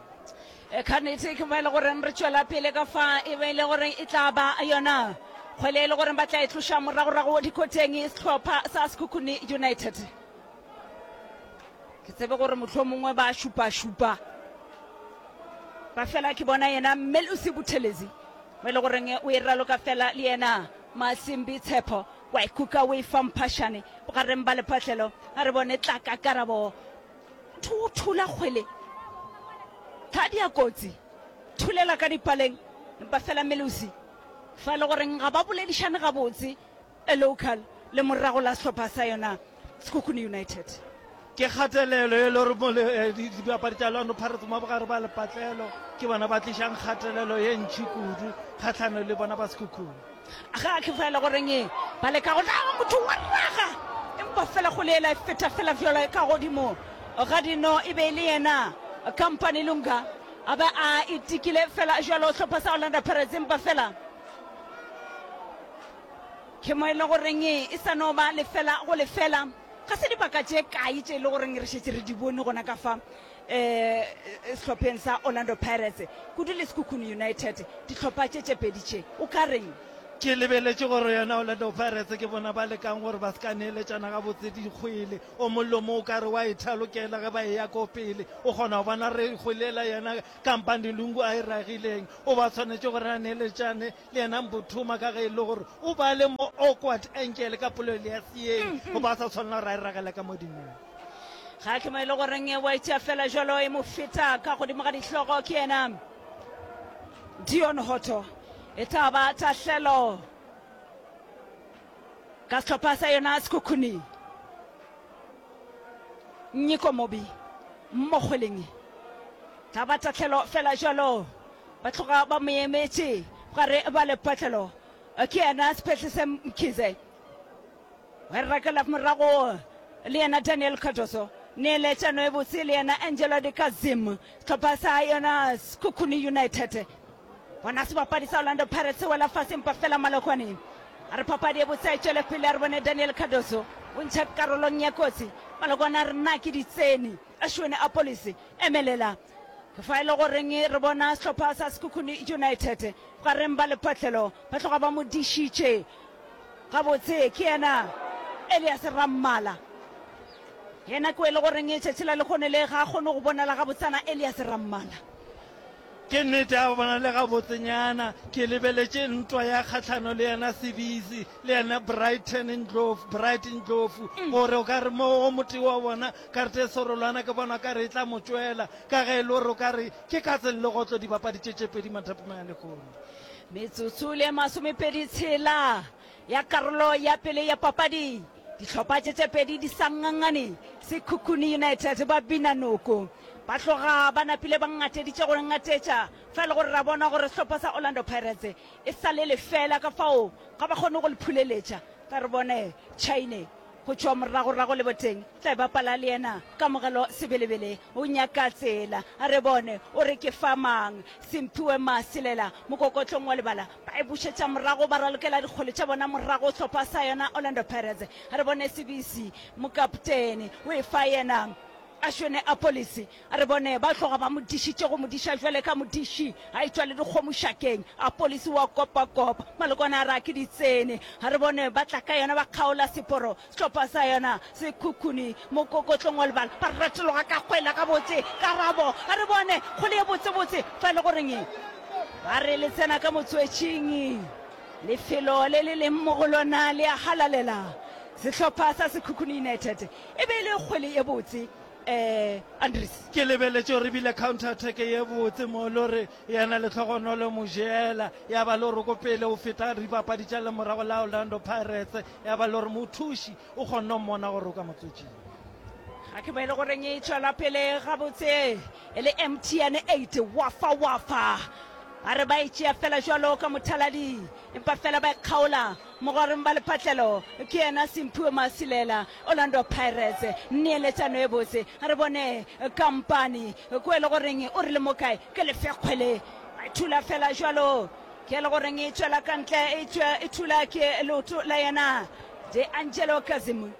Ka nnete ke mo e le goreng re tšwela pele ka fa e be e le gore e tla ba yona kgwele e le goreng ba tla e tloša moragorago dikoteng sehlopha sa Sekhukhune United. Ke tsebe gore mohlomongwe ba šupašupa ba fela ke bona yena Melusi Buthelezi mo e le goreng o e raloka fela le yena Masimbi Tshepo wa e kuka o e fa Mphašane bogareng ba lephahlelo. A re bone tlaka karabo motho o thula kgwele thadi ya kotsi thulela ka dipaleng empa fela Melusi fa e le goreng ga ba boledišane gabotse e local le morago la sehlopha sa yona Sekhukhune United. Ke kgatelelo e le gore mo le dibapadi tša Orlando Pirates mo bogare ba lepatlelo ke bona ba tlišang kgatelelo ye ntši kudu kgahlano le bona ba Sekhukhune. Ga ke fa e le goreng ba leka go tla motho wa raga empa fela kgole ela e feta fela bjalo ka godimo ga dino e be e le yena Company Lunga a ba a itikile fela jalo sehlopha sa Orlando Pirates empa fela ke mo e le goreng e sa no ba lefela go lefela. Ga se dibaka tše kae tše e le goreng re šetše re di bone gona ka fa um sehlopheng sa Orlando Pirates kudu le Sekhukhune United dihlopha tše tše pedi tše o ka reng? Ke lebeletše gore yona Orlando Pirates ke bona ba lekang gore ba se ka neeletšana gabotse dikgwele. O mollo mo o ka re wa e thalokela ge ba eya ko pele. O kgona go bona re kgwele yela yena Kampani Lungu a e ragileng. O ba tshwanetše gore a neeletšane le yena Mbuthuma ka ge e le gore o ba le mo awkward angle ka polelo ya seeng go ba sa tshwanela gore a e ragele ka modimong. Ga ke mo e le goreng wa itšea fela jalo e mo feta ka godimo ga dihlogo ke yena Dion Hotto. E tla ba tahlelo ka sehlopha sa yona Sekhukhune. Nyiko Mobi mo kgweleng. Tla ba tahlelo fela jalo. Ba tloga ba mo emetše gare ba lepatlelo. Ke yena Sephehlese Mkhize. Wa e rakela morago le yena Daniel Cardoso. Neeletšano e botse le yena Angelo de Kazim. Sehlopha sa yona Sekhukhune United. Bona sebapadi sa Orlando Pirates se wela fase empa fela Malokwane a re papadi e botse a e tšwele pele. A re bone Daniel Cardoso o ntšha karolong ya kotsi. Malokwane a re na ke di tsene. Ashwin Appollis emelela. Ke fa e le goreng re bona sehlopha sa Sekhukhune United bogareng ba lepatlelo ba tloga ba mo dišitše gabotse. Ke yena Elias Rammala. Yena ke o e le goreng tšatši la lehono le ga a kgone go bonala gabotsana Elias Rammala. Ke nnete a bonale gabotsenyana. Ke lebeletše ntwa ya kgahlano le yena Sibisi le yena Brighton Ndlovu, Bright Ndlovu, gore o ka re mo go motee wa bona karete e serolwana ke bona o ka re e tla mo tšwela, ka ge e le gore o ka re ke katse le legotlo dibapadi tše tše pedi mathapameng a lehono. Metsotso le masomepedi tshela ya karolo ya pele ya papadi, dihlopha tše tše pedi di sa ngangane. Sekhukhune United ba bina noko, ba tloga ba napile ba ngateditše go ngatetša, fa e le gore ra bona gore sehlopha sa Orlando Pirates e sa le lefela, ka fao ga ba kgone go le phuleletša. Tla re bone Chaine go tšwa moragorago leboteng, tla e bapala le yena Kamogelo Sebelebele, o nyaka tsela. A re bone o re ke fa mang. Simphiwe Masilela mokokotlong wa lebala, ba e bušetša morago, ba ralokela dikgole tša bona morago sehlopha sa yona Orlando Pirates. A re bone Sibisi mokaptene o e fa yena Ashwene Appollis. A re bone ba tloga ba mo dišitše go mo diša jwale ka modiši a etšwa le dikgomo šakeng. Appollis wa kopakopa, malokwane a re a ke di tsene. A re bone ba tla ka yona ba kgaola seporo, sehlopha sa yona Sekhukhune mokokotlong wa lebala, ba retologa ka kgwele gabotse. Karabo, a re bone kgwele ye botsebotse fa e le goreng ba re le tsena ka motswetšing. Lefelo le le leng mo go lona le a halalela. Sehlopha sa Sekhukhune United e be e le kgwele ye botse. Eh, Andries. Ke lebeletše gore ebile counter attack ye botse mo le gore yena Lehlogonolo Mojela ya ba le gore ko pele o feta dibapadi tša lemorago la Orlando Pirates, ya ba le gore mothuši o kgonne go mmona gore o ka motswetšing. Ga ke mo e le goreng e tšwela pele gabotse e le M T N eight wafa wafa. Ba re ba e tšea fela jwalo ka mothaladi, empa fela ba e kgaola mogareng ba lephatlelo. Ke yena Simphiwe Masilela, Orlando Pirates. Neeletšano e botse. A re bone kampani ko e le goreng o rile mo kae ke lefe kgwele. Ba e thula fela jwalo, ke e le goreng e tšwela ka ntle, e tšwe e thula ke leoto la yena De Angelo Kazim.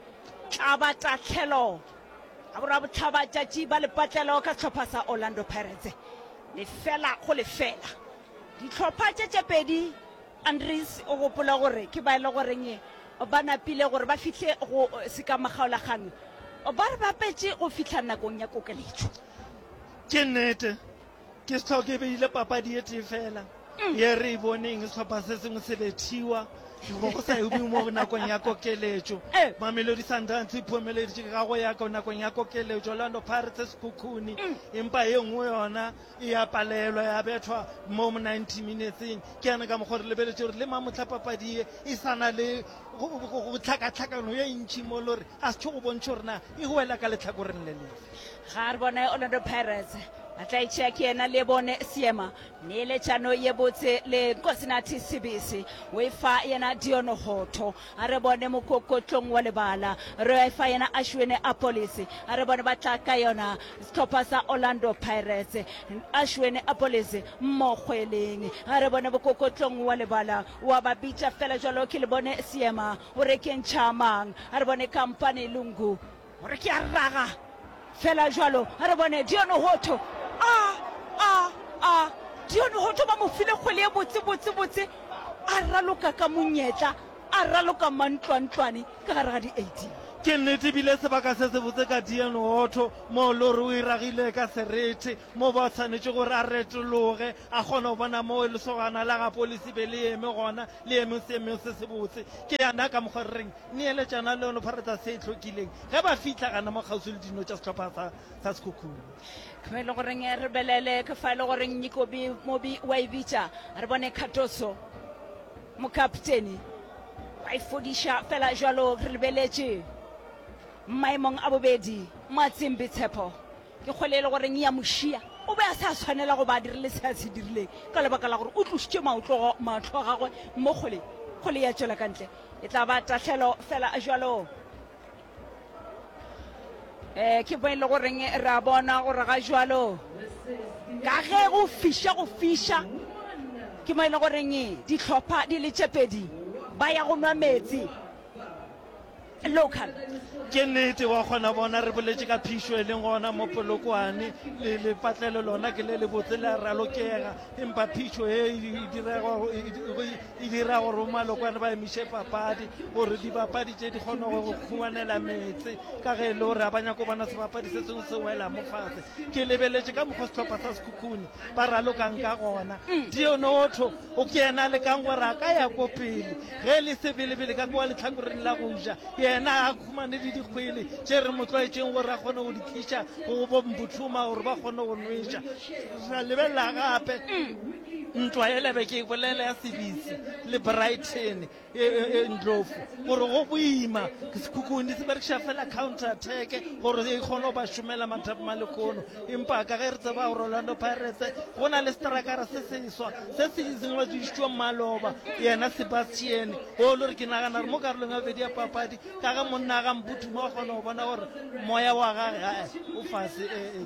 Tla ba tahlelo ka borwa bohlaba tšatši ba lepatlelo ka sehlopha sa Orlando Pirates. Lefela go lefela. Dihlopha tše tše pedi, Andries o gopola gore ke ba e le goreng ba napile gore ba fihle go sekamakgaolakgang, ba re bapetše go fihla nakong ya kokeletšo. Ke nnete, ke sehloke e beile papadi e tee fela ye re e boneng sehlopha se sengwe se bethiwa go go sa eme mo nakong ya kokeletšo. Mamelodi Sundowns e phomeleditše ka go ya nakong ya kokeletšo, Orlando Pirates Sekhukhune, empa ye nngwe yona e ya palelwa ya bethwa mo ninety minuteseng. Ke yana ka mokgwa re lebeletše gore le mamohla papadi ye e sa na le go go tlhakatlhakano ye ntši mo le gore a se tšho go bontšha gore na e wela ka lehlakoreng le lefe. Ga re bone Orlando Pirates ba tla e tšea ke yena le bone Seema. Neeletšano ye botse le Nkosinathi Sibisi o e fa yena Dion Hotto. A re bone mokokotlong wa lebala, re e fa yena Ashwin Appollis. A re bone ba tla ka yona sehlopha sa Orlando Pirates. Ashwin Appollis mo kgweleng. A re bone mokokotlong wa lebala, wa ba bitša fela jwalo ke le bone Seema o re ke ntšha mang. A re bone Kampane Lungu o re ke a raga fela jwalo. A re bone Dion Hotto. A, a, a, Dion Hotto ba mo file kgwele ye botse, botse, botse. A raloka ka monyetla, a raloka mantlwantlwane ka gare ga di eighteen. Ke nnete ebile sebaka se sebotse ka Dion Hotto mo le gore o e ragile ka serethe mo ba tshwanetše gore a retologe a kgone go bona mo lesogana la ga Polisi be le eme gona, le eme seemeng se sebotse. Ke yana ka mokgwa re reng neeletšana le yone Pirates se e hlokileng ge ba fihla gana mo kgauswi le dino tša sehlopha sa, sa Sekhukhune. Ke fa e le goreng re belele, ke fa e le goreng Nyikobi Mobi wa e bitša. Re bone Cardoso mokaptene wa e fodiša fela jwalo. Re lebeletše maemong a bobedi Matsimbi Tshepo ke kgwele e le goreng ya mošia, o be a sa tshwanela go ba a dirile se a se dirileng ka lebaka la gore o tlošitše maotlo mahlo a gagwe mo kgweleng. Kgole ya tšwela ka ntle. E tla ba tahlelo fela jwalo. Eh, ke mo e le goreng re a bona gore ga jwalo ka ge go fiša go fiša ke mo e le goreng dihlopha di le tše pedi ba ya go nwa meetse local. Ke nnete, wa kgona bona re boletše ka phišo e leng gona mo Polokwane, le lepatlelo lona ke le lebotse le a ralokega, empa phišo e e direga e dira gore bomalokwane ba emiše papadi gore dibapadi tše di kgone go khumanela meetse ka ge e le gore ga ba nyako bona sebapadi se sengwe se wela mo fase. Ke lebeletše ka mokgwa sehlopha sa Sekhukhune ba ralokang ka gona. Dionotho o ke yena a lekang gore a ka ya ko pele ge e le sebelebele ka kua lehlakoreng la go ja, yena a khumane le dikgwele tše re mo tlwaetšeng gore a kgone go di tliša go bo Mbuthuma gore ba kgone go nweša. Ra lebelela gape ntwa yela be ke e bolela ya Sebisi le Brighton e, e, e Ndlovu gore go boima Sekhukhune se berekiša fela counter attack gore e kgone go ba šomela mathapama lekono, empa ka ge re tseba gore Orlando Pirates go na le strakara se seswa se se ngwadišitšwe maloba yena Sebastian o le gore ke nagana gore mo karolong ya bobedi ya papadi ka ge monna ga Mbuthuma o kgona go bona gore moya wa gage ae o fase e,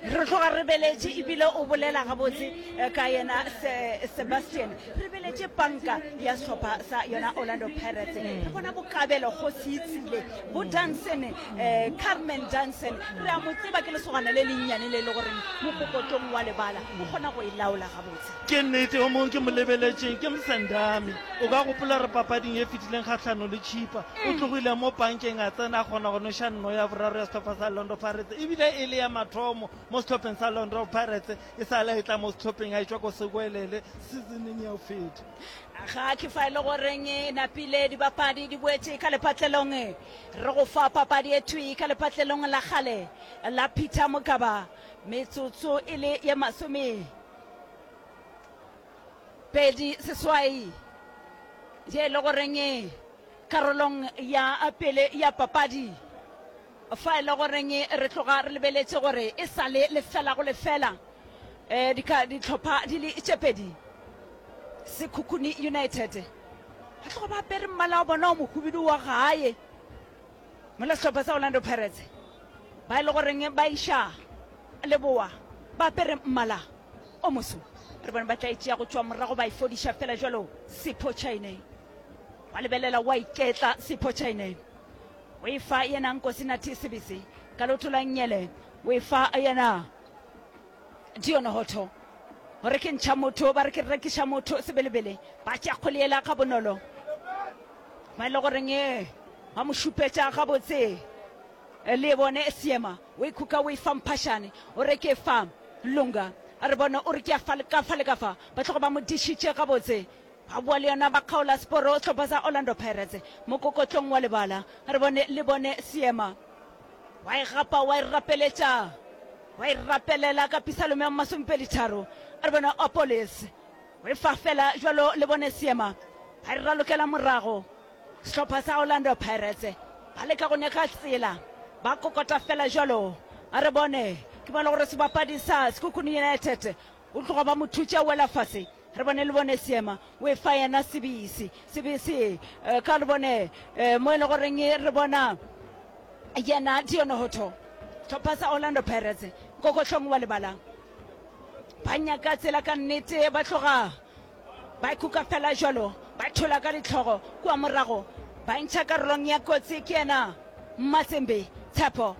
e, Re tloga re beletše ebile o bolela gabotse ka yena Se, Sebastian. Re beletše panka ya sehlopha sa yona Orlando Pirates. Re bona bokabelo Kgosietsile, bo Danson, eh, Carmen Danson. Re a mo tseba ke lesogana le lennyane le le goreng mokokotlong wa lebala o kgona go e laola gabotse. Ke nnete, o mongwe ke mo lebeletšeng ke Msendami. O ka gopola re papading e fetileng kgahlano le Chippa, o tlogile mo pankeng a tsena a kgona go nweša nno ya boraro ya sehlopha sa Orlando Pirates ebile e le ya mathomo mo sehlopheng sa Orlando Pirates e sa le a etla mo sehlopheng a etšwa ko Sekwelele seasoneng ya go feta. Ga ke fa e le goreng e napile dibapadi di boetše ka lepatlelong. Re go fa papadi e thwi ka lepatlelong la kgale la Peter Mokaba metsotso e le ye masome pedi seswai ye e le goreng karolong ya pele ya papadi fa e le goreng re tloga re lebeletše gore e sa le lefela go lefela um dihlopha di le tše pedi. Sekhukhune United ba tloga ba apere mmala wa bona o mohubidu wa gae mola sehlopha sa Orlando Pirates ba e le goreng ba iša leboa ba apere mmala o moso. Re bone ba tla e tšea go tšwa morago ba e fodiša fela jalo. Sipho Chaine wa lebelela wa iketla. Sipho Chaine o e fa yena Nkosinathi Sibisi ka leoto la nngele, o e fa yena Dion Hotto gore ke ntšha motho ba re ke rekiša motho sebelebele. Ba tšea kgole yela ga bonolo ba e le goreng e ba mo šupetša gabotse le bone seema o e khuka o e fa Mphašane o re ke fa Lunga a re bone o re ke ya fa le ka fa le ka fa ba tloga ba mo dišitše gabotse ba boa le yona ba kgaola seporo sehlopha sa Orlando Pirates mokokotlong wa lebala re bone le bone seema wa e gapa wa e rapeletša wa e rapelela ka Pisalome ya masomepedi tharo re bone Opolis o e fa fela jwalo le bone seema ba e ralokela morago sehlopha sa Orlando Pirates ba leka go nyaka tsela ba kokota fela jwalo a re bone ke bona gore sebapadi sa Sekhukhune United o tloga ba mo thutša wela fase re bone le bone seema o e fa yena Sebisi Sebisi ka le bone mo e le goreng re bona yena Dion Hotto sehlopha sa Orlando Pirates nkokohlong wa lebala ba nyaka tsela ka nnete ba tloga ba ikuka fela jwalo ba thola ka ditlhogo kua morago ba ntšha karolong ya kotsi ke yena Mmatsembe Tshepo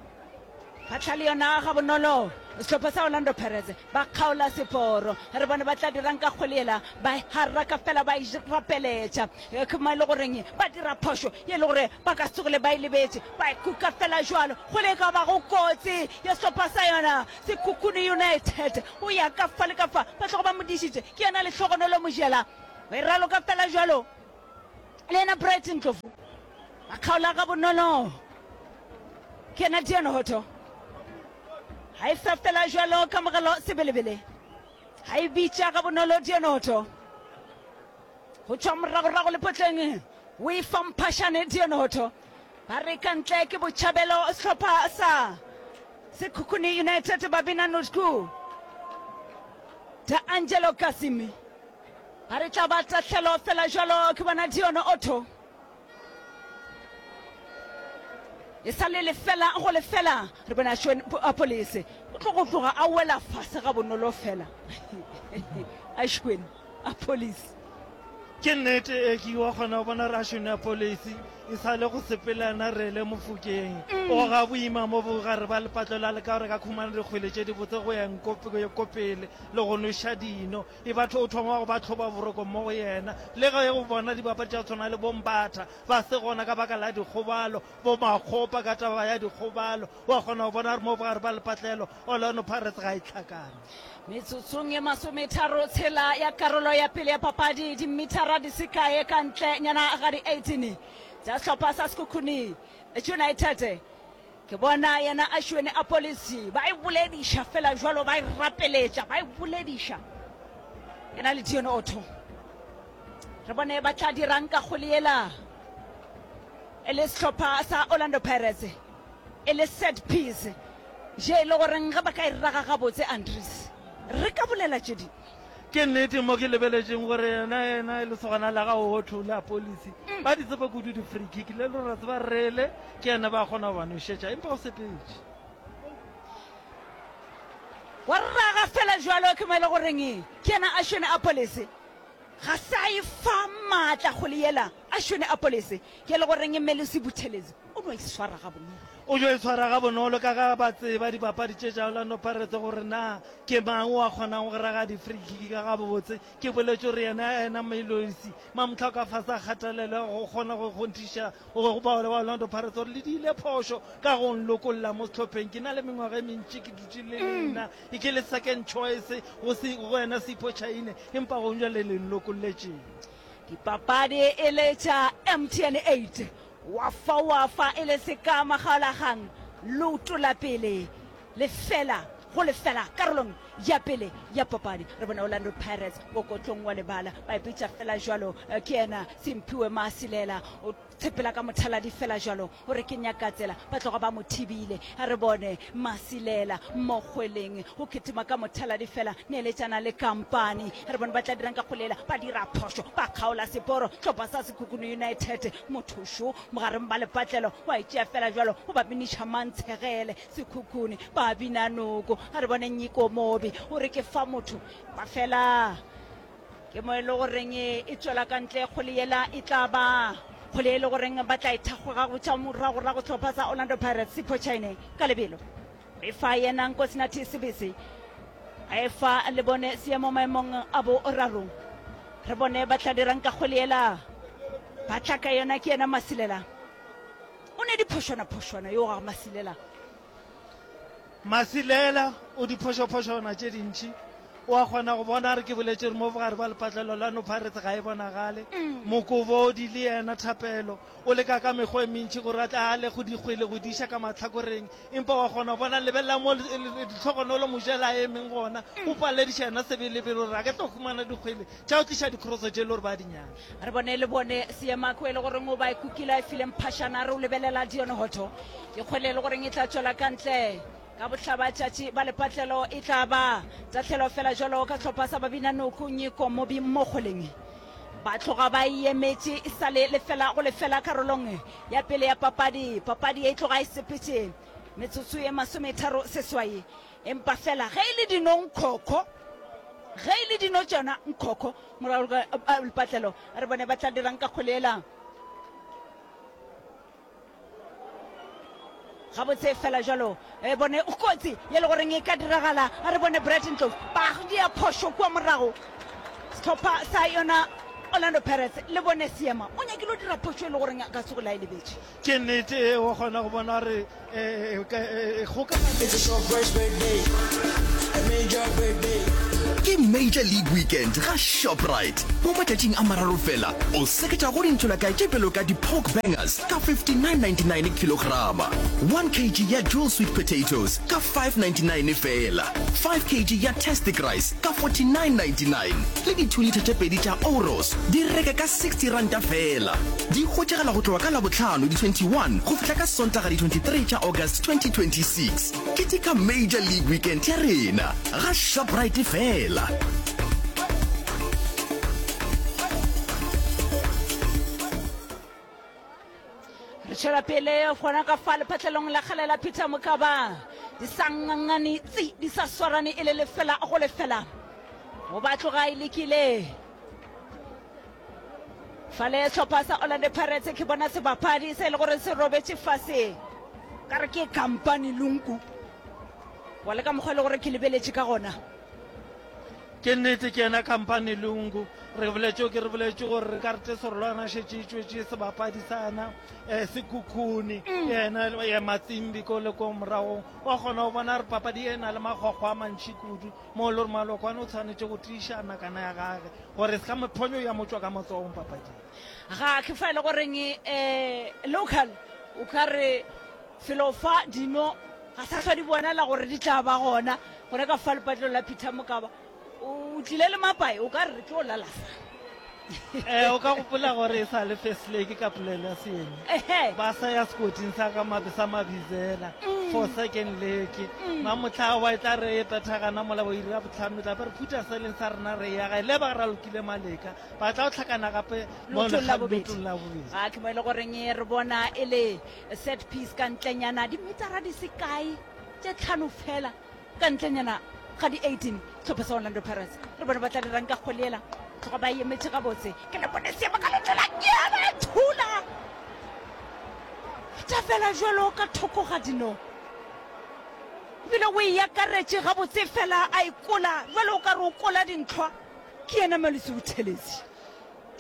ba tla le yona ga bonolo sehlopha sa Orlando Pirates ba kgaola seporo re bone ba tla dirang ka kgwele yela ba haraka fela ba e rapeletša ke mo e le goreng ba dira phošo ye le gore ba ka se tsogile ba e lebetše ba ikuka fela jwalo kgwele e ka bago kotsi ya sehlopha sa yona Sekhukhune United o ya ka fa le ka fa ba tloga ba mo dišitše ke yena Lehlogonolo Mojela o e raloka fela jwalo le yena Bright Ndlovu ba kgaola ga bonolo ke yena Dion Hotto ga e fa fela jwalo kamogelo Sebelebele ga e bitša ga bonolo Dion Hotto go tšwa moragorago lepotleng o e fa Mphašane Dion Hotto ba re ka ntle ke botšhabelo sehlopha sa Sekhukhune United ba bina Nutku D'Angelo Kasimi Ba re tla ba tahlelo fela jalo ke bona Dion Otto. E sa le lefela go lefela re bona Ashwin Appollis o tlo go tloga a wela fase ga bonolo fela. Ashwin Appollis. Ke nnete e ke wa kgona go bona re Ashwin Appollis e sa le go sepelana re le Mofokeng. O ga boima mo bogare ba lepatlo la leka gore ka khumana dikgwele tše dibotse go ya nko pele le go nweša dino. E batho o thoma go ba tlhoba boroko mo go yena. Le ge o bona dibapadi tša tshwana le Bombatha ba se gona ka baka la dikgobalo, bo Makgopa ka taba ya dikgobalo, wa kgona go bona gore mo bogare ba lepatlelo Orlando Pirates ga e hlakane. Metsotsong ye masometharo tshela ya karolo ya pele ya papadi, dimithara di se kae ka ntle nyana ga di eighteen tša sehlopha sa Sekhukhune United, ke bona yena Ashwin Appollis ba e bolediša fela jwalo, ba e rapeletša, ba e bolediša yena le Dion Otto. Re bone ba tla dirang ka kgole yela e le sehlopha sa Orlando Pirates e le set piece je e le goreng ge ba ka e raga gabotse Andries re ka bolela tše dingwe. Ke nnete mo ke lebeletšeng gore yena yena e lesogana la ga Otto le Appollis ba di tseba kudu di-free kick le le ra tseba rele ke yena ba kgona go ba nošetša empa o sepetše. Wa raga fela jwalo ke mo e le goreng ke yena Ashwin Appollis ga sa e fa maatla kgole yela Ashwin Appollis ke le goreng Melusi Buthelezi o no e swara ga bonolo. O jo e swara ga bonolo ka ga ba tseba dipapadi tše tša Orlando Pirates gore na ke mang o a kgonang go raga di-free kick ka gabotse. Ke boletše gore yena yena Melusi Mamtlha ka fase a kgathalelo go kgona go kgonthiša go ba ba Orlando Pirates gore le diile phošo ka go nlokolla mo sehlopheng. Ke na le mengwaga e mentši ke dutše le lena e ke le second choice go se go wena Sipho Chaine empa go jwale le nlokolletšeng. Dipapadi e le tša M T N eight wa fa wa fa e le seka makgaolakgang leoto la pele lefela go lefela karolong ya pele ya papadi. Re bona Orlando Pirates mokotlong wa lebala ba ipitša fela jwalo ke yena Simphiwe Masilela o tshepela ka mothaladi fela jwalo o re ke nyaka tsela ba tloga ba mo thibile. A re bone Masilela mo kgweleng o kitima ka mothaladi fela neeletšana le kampani. Re bone ba tla dirang ka kgolela ba dira phošo ba kgaola seporo hlopha sa Sekhukhune United mothošo mogareng ba lepatlelo wa e tšea fela jwalo o ba biniša mantshegele Sekhukhune ba bina noko. A re bone Nyiko Mobi o re ke fa motho ba fela ke mo e le goreng e tswela ka ntle kgole yela e tla ba kgole e le goreng ba tla e thakgoga go tša moragorago sehlopha sa Orlando Pirates Sipho Chaine ka lebelo e fa yena Nkosinathi Sibisi a e fa le bone seemo maemong a boraro. Re bone ba tla dirang ka kgole yela ba tla ka yona ke yena Masilela o ne diphošwana phošwana yo ga Masilela. Masilela o diphošophošwana tše dintši o a kgona go bona re ke boletše re mo bogare ba lepatlelo la no Pirates ga e bonagale. Mokobodi le yena Thapelo o leka ka mekgwa e mentši gore a tla le go dikgwele go diša ka mahlakoreng empa wa kgona go bona lebelela mo ditlhogonolo mojela a emeng gona o palediša yena sebelebele gore a ke tlo humana dikgwele tša go tliša dikroso tše le gore ba di nyaka. Re bone le bone seemako e le goreng o ba e kukile a e fileng phašana re o lebelela Dion Hotto ke kgwele e le goreng e tla tšwela ka ntle ka bohlabatšatši ba lepatlelo e tla ba tahlelo fela jwalo ka sehlopha sa babina noko Nyiko Mobi mo kgweleng ba tloga ba e emetše e sa le lefela go lefela karolong ya pele ya papadi. Papadi e tloga e sepetše metsotso ye masometharo seswai empa fela ge e le dino nkhokho ge e le dino tšona nkhokho morago ga lepatlelo re bone ba tla dirang ka kgwele yela gabotse fela jwalo e bone kotsi ye le goreng e ka diragala. A re bone Brett Ndlovu ba dia phošo kua morago sehlopha sa yona Orlando Pirates le bone seema o nyakile o dira phošo e le goreng a ka se go la e lebetše. Ke nnete e wa kgona go bona re It's a Shoprite birthday, a major birthday. Ke Major League Weekend ga Shoprite. Mo matšatšing a mararo fela o seketša go dintšholakae tše bjalo ka di-pork bangers ka fifty-nine ninety-nine kilograma, one kilogram ya jewel sweet potatoes ka five ninety-nine fela, five kilogram ya tastic rice ka forty-nine ninety-nine le di-two litre tše pedi tša Oros di reke ka sixty ranta fela. Di hwetšagala go tloga ka Labohlano di twenty-one go fihla ka Sontaga di twenty-three tša August twenty twenty-six. Keteka Major League Weekend ya rena ga Shoprite fela. Tšwela pele gona ka fa lephatlelong la kgale la Peter Mokaba. Di sa ngangane tsi, di sa swarane e le lefela go lefela. Go ba tloga e lekile. Fale sehlopha sa Orlando Pirates ke bona sebapadi se e le gore se robetše fase. Ka re ke kampani Lungu. Wa le ka mokgwa e le gore ke lebeletše ka gona. Ke nnete ke yena Kampani Lungu. Re boletše ke re boletše gore re ka re Serolwana šetše e tšwetše sebapadi sa yena eh, Sekhukhune mm. yena ya Matsimbi ko le ko moragong wa kgona go bona re papadi e na le makgwakgwa a mantši kudu mo le gore malokwane o tshwanetše go tiiša nakana ya gage gore se ka mophonyo ya mo tšwa ka matsogong papading. Ga ke fa e le goreng um local o ka re felo fa dino ga sa hlwa di bonala gore di tla ba gona gona ka fa lepatlelo la Peter Mokaba. O tlile le mapae, o ka re re tlo lala fa. Eh, o ka gopola gore e sa le first leg ka polelo ya seeng ba sa ya sekoting sa ga mabe sa mabizela mm. for second leg mm. mamotlha wa e tla re e pethagana mola bo iri ya botlhano tla be re phutha se leng sa rena re ya gae le ba ra lokile maleka ba tla go tlhakana gape mo Leotong la bobedi. leotong la bobedi Ga ke mo e le goreng re bona e le set piece ka ntlenyana dimetara di se kae tše tlhano fela ka ntlenyana ga di eighteen sehlopha sa Orlando Pirates re bone ba tla dirang ka kgwele yela tloga ba e emetše gabotse ke le bone seema ka leoto la nyana e thula feta fela jalo ka thoko ga dino ebile o e akaretše gabotse fela a e kola jalo o ka re o kola dintlhwa ke yena Malusi Buthelezi.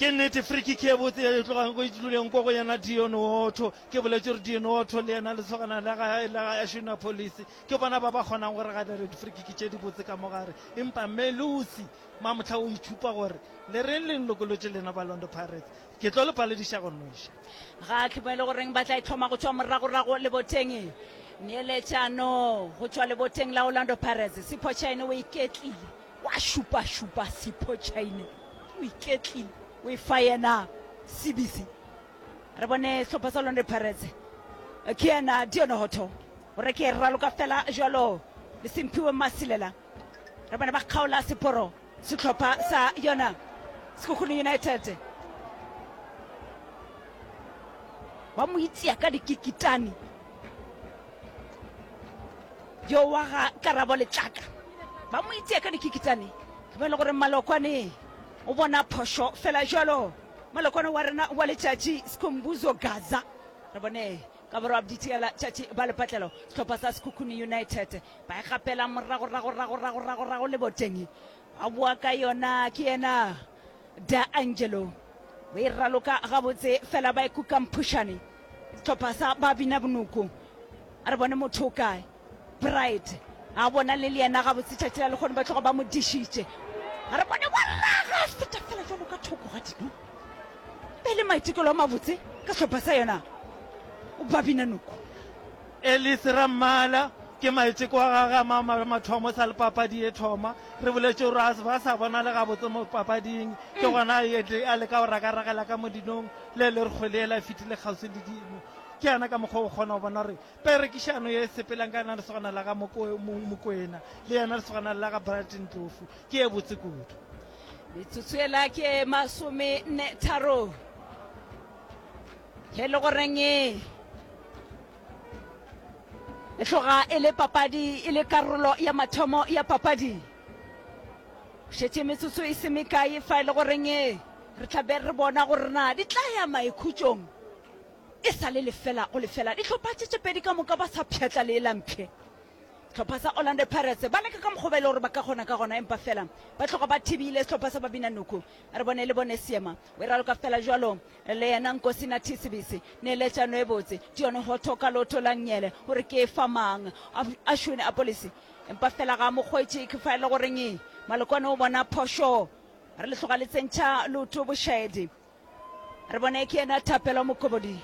Ke nnete, free kick ye botse ye e tlogang go e tlileng ko go yena Dion Otto. Ke boletše gore Dion Otto le yena lesogana la ga la ga Ashwin Police ke bona ba ba kgonang go re gadela di-free kick tše dibotse ka mo gare. Empa Melusi mamohla o itšhupa gore le reng le nlokolotše lena ba Orlando Pirates, ke tlo le palediša go nweša. Ga ke mo e le goreng ba tla e hloma go tšwa moragorago leboteng. Neeletšano go tšwa leboteng la Orlando Pirates. Sipho Chaine o iketlile. Wa šupašupa Sipho Chaine o iketlile o e fa yena Sibisi. Re bone sehlopha sa Orlando Pirates ke yena Dion Hotto gore ke e raloka fela jwalo le Simphiwe Masilela. Re bone ba kgaola seporo sehlopha sa yona Sekhukhune United ba mo itia ka dikikitane. Yo wa ga Karabo Letlaka ba mo itia ka dikikitane. Ke ba e le gore Malokwane o bona phošo fela jwalo. Malokwane wa rena wa letšatši Skhumbuzo Gaza. Re bone ka borwa bditiela tšatši ba lepatlelo sehlopha sa Sekhukhune United ba e gapela morago rago rago rago rago rago leboteng. Ba boa ka yona ke yena Da Angelo o e raloka gabotse fela ba e kuka mphušane sehlopha sa ba bina bonoko. A re bone motho o kae. Bright a bona le le yena gabotse tšatši la lekgono ba tloga ba mo dišitše. A re bone wa raga a feta fela jalo ka thoko ga dino. Be le maitekelo a mabotse ka sehlopha sa yona o ba bina noko. Ellis Rammala, Ke maiteko a gagwe a ma mathomo sa le papadi e thoma. Re boletše gore a ba sa bonale gabotse mo papading, ke gona a leka go rakaragela ka mo dinong le le re kgwele yela e fetile kgauswi le dino. Ke yena ka mokgwa o kgona go bona gore perekišano ye e sepelang ka yena lesogana la ga Mokwena le yena lesogana la ga Bright Ndlovu ke ye botse kudu. Metsotso yela ke masome nne tharo ge e le goreng e tloga e le papadi e le karolo ya mathomo ya papadi. Šetše metsotso e se mekae fa e le goreng re tla be re bona gore na di tla ya maikhutšong e sa le lefela go lefela. Dihlopha tše tše pedi ka moka ba sa pšhatla lee la mpšhe. Sehlopha sa Orlando Pirates ba leka ka mokgwa ba e le gore ba ka kgona ka gona empa fela ba tloga ba thibile sehlopha sa Babinanuku. Re bone le bone seema o e raloka fela jwalo le yena Nkosinathi Sibisi. Neeletšano e botse Dion Hotto ka leoto la nngele gore ke e fa mang. Ashwin Appollis empa fela ga a mo hwetše ke fa e le goreng Malokwane o bona phošo. Re le tloga le tsentšha leoto bošaedi. Re bone ke yena Thapelo Mokobodi.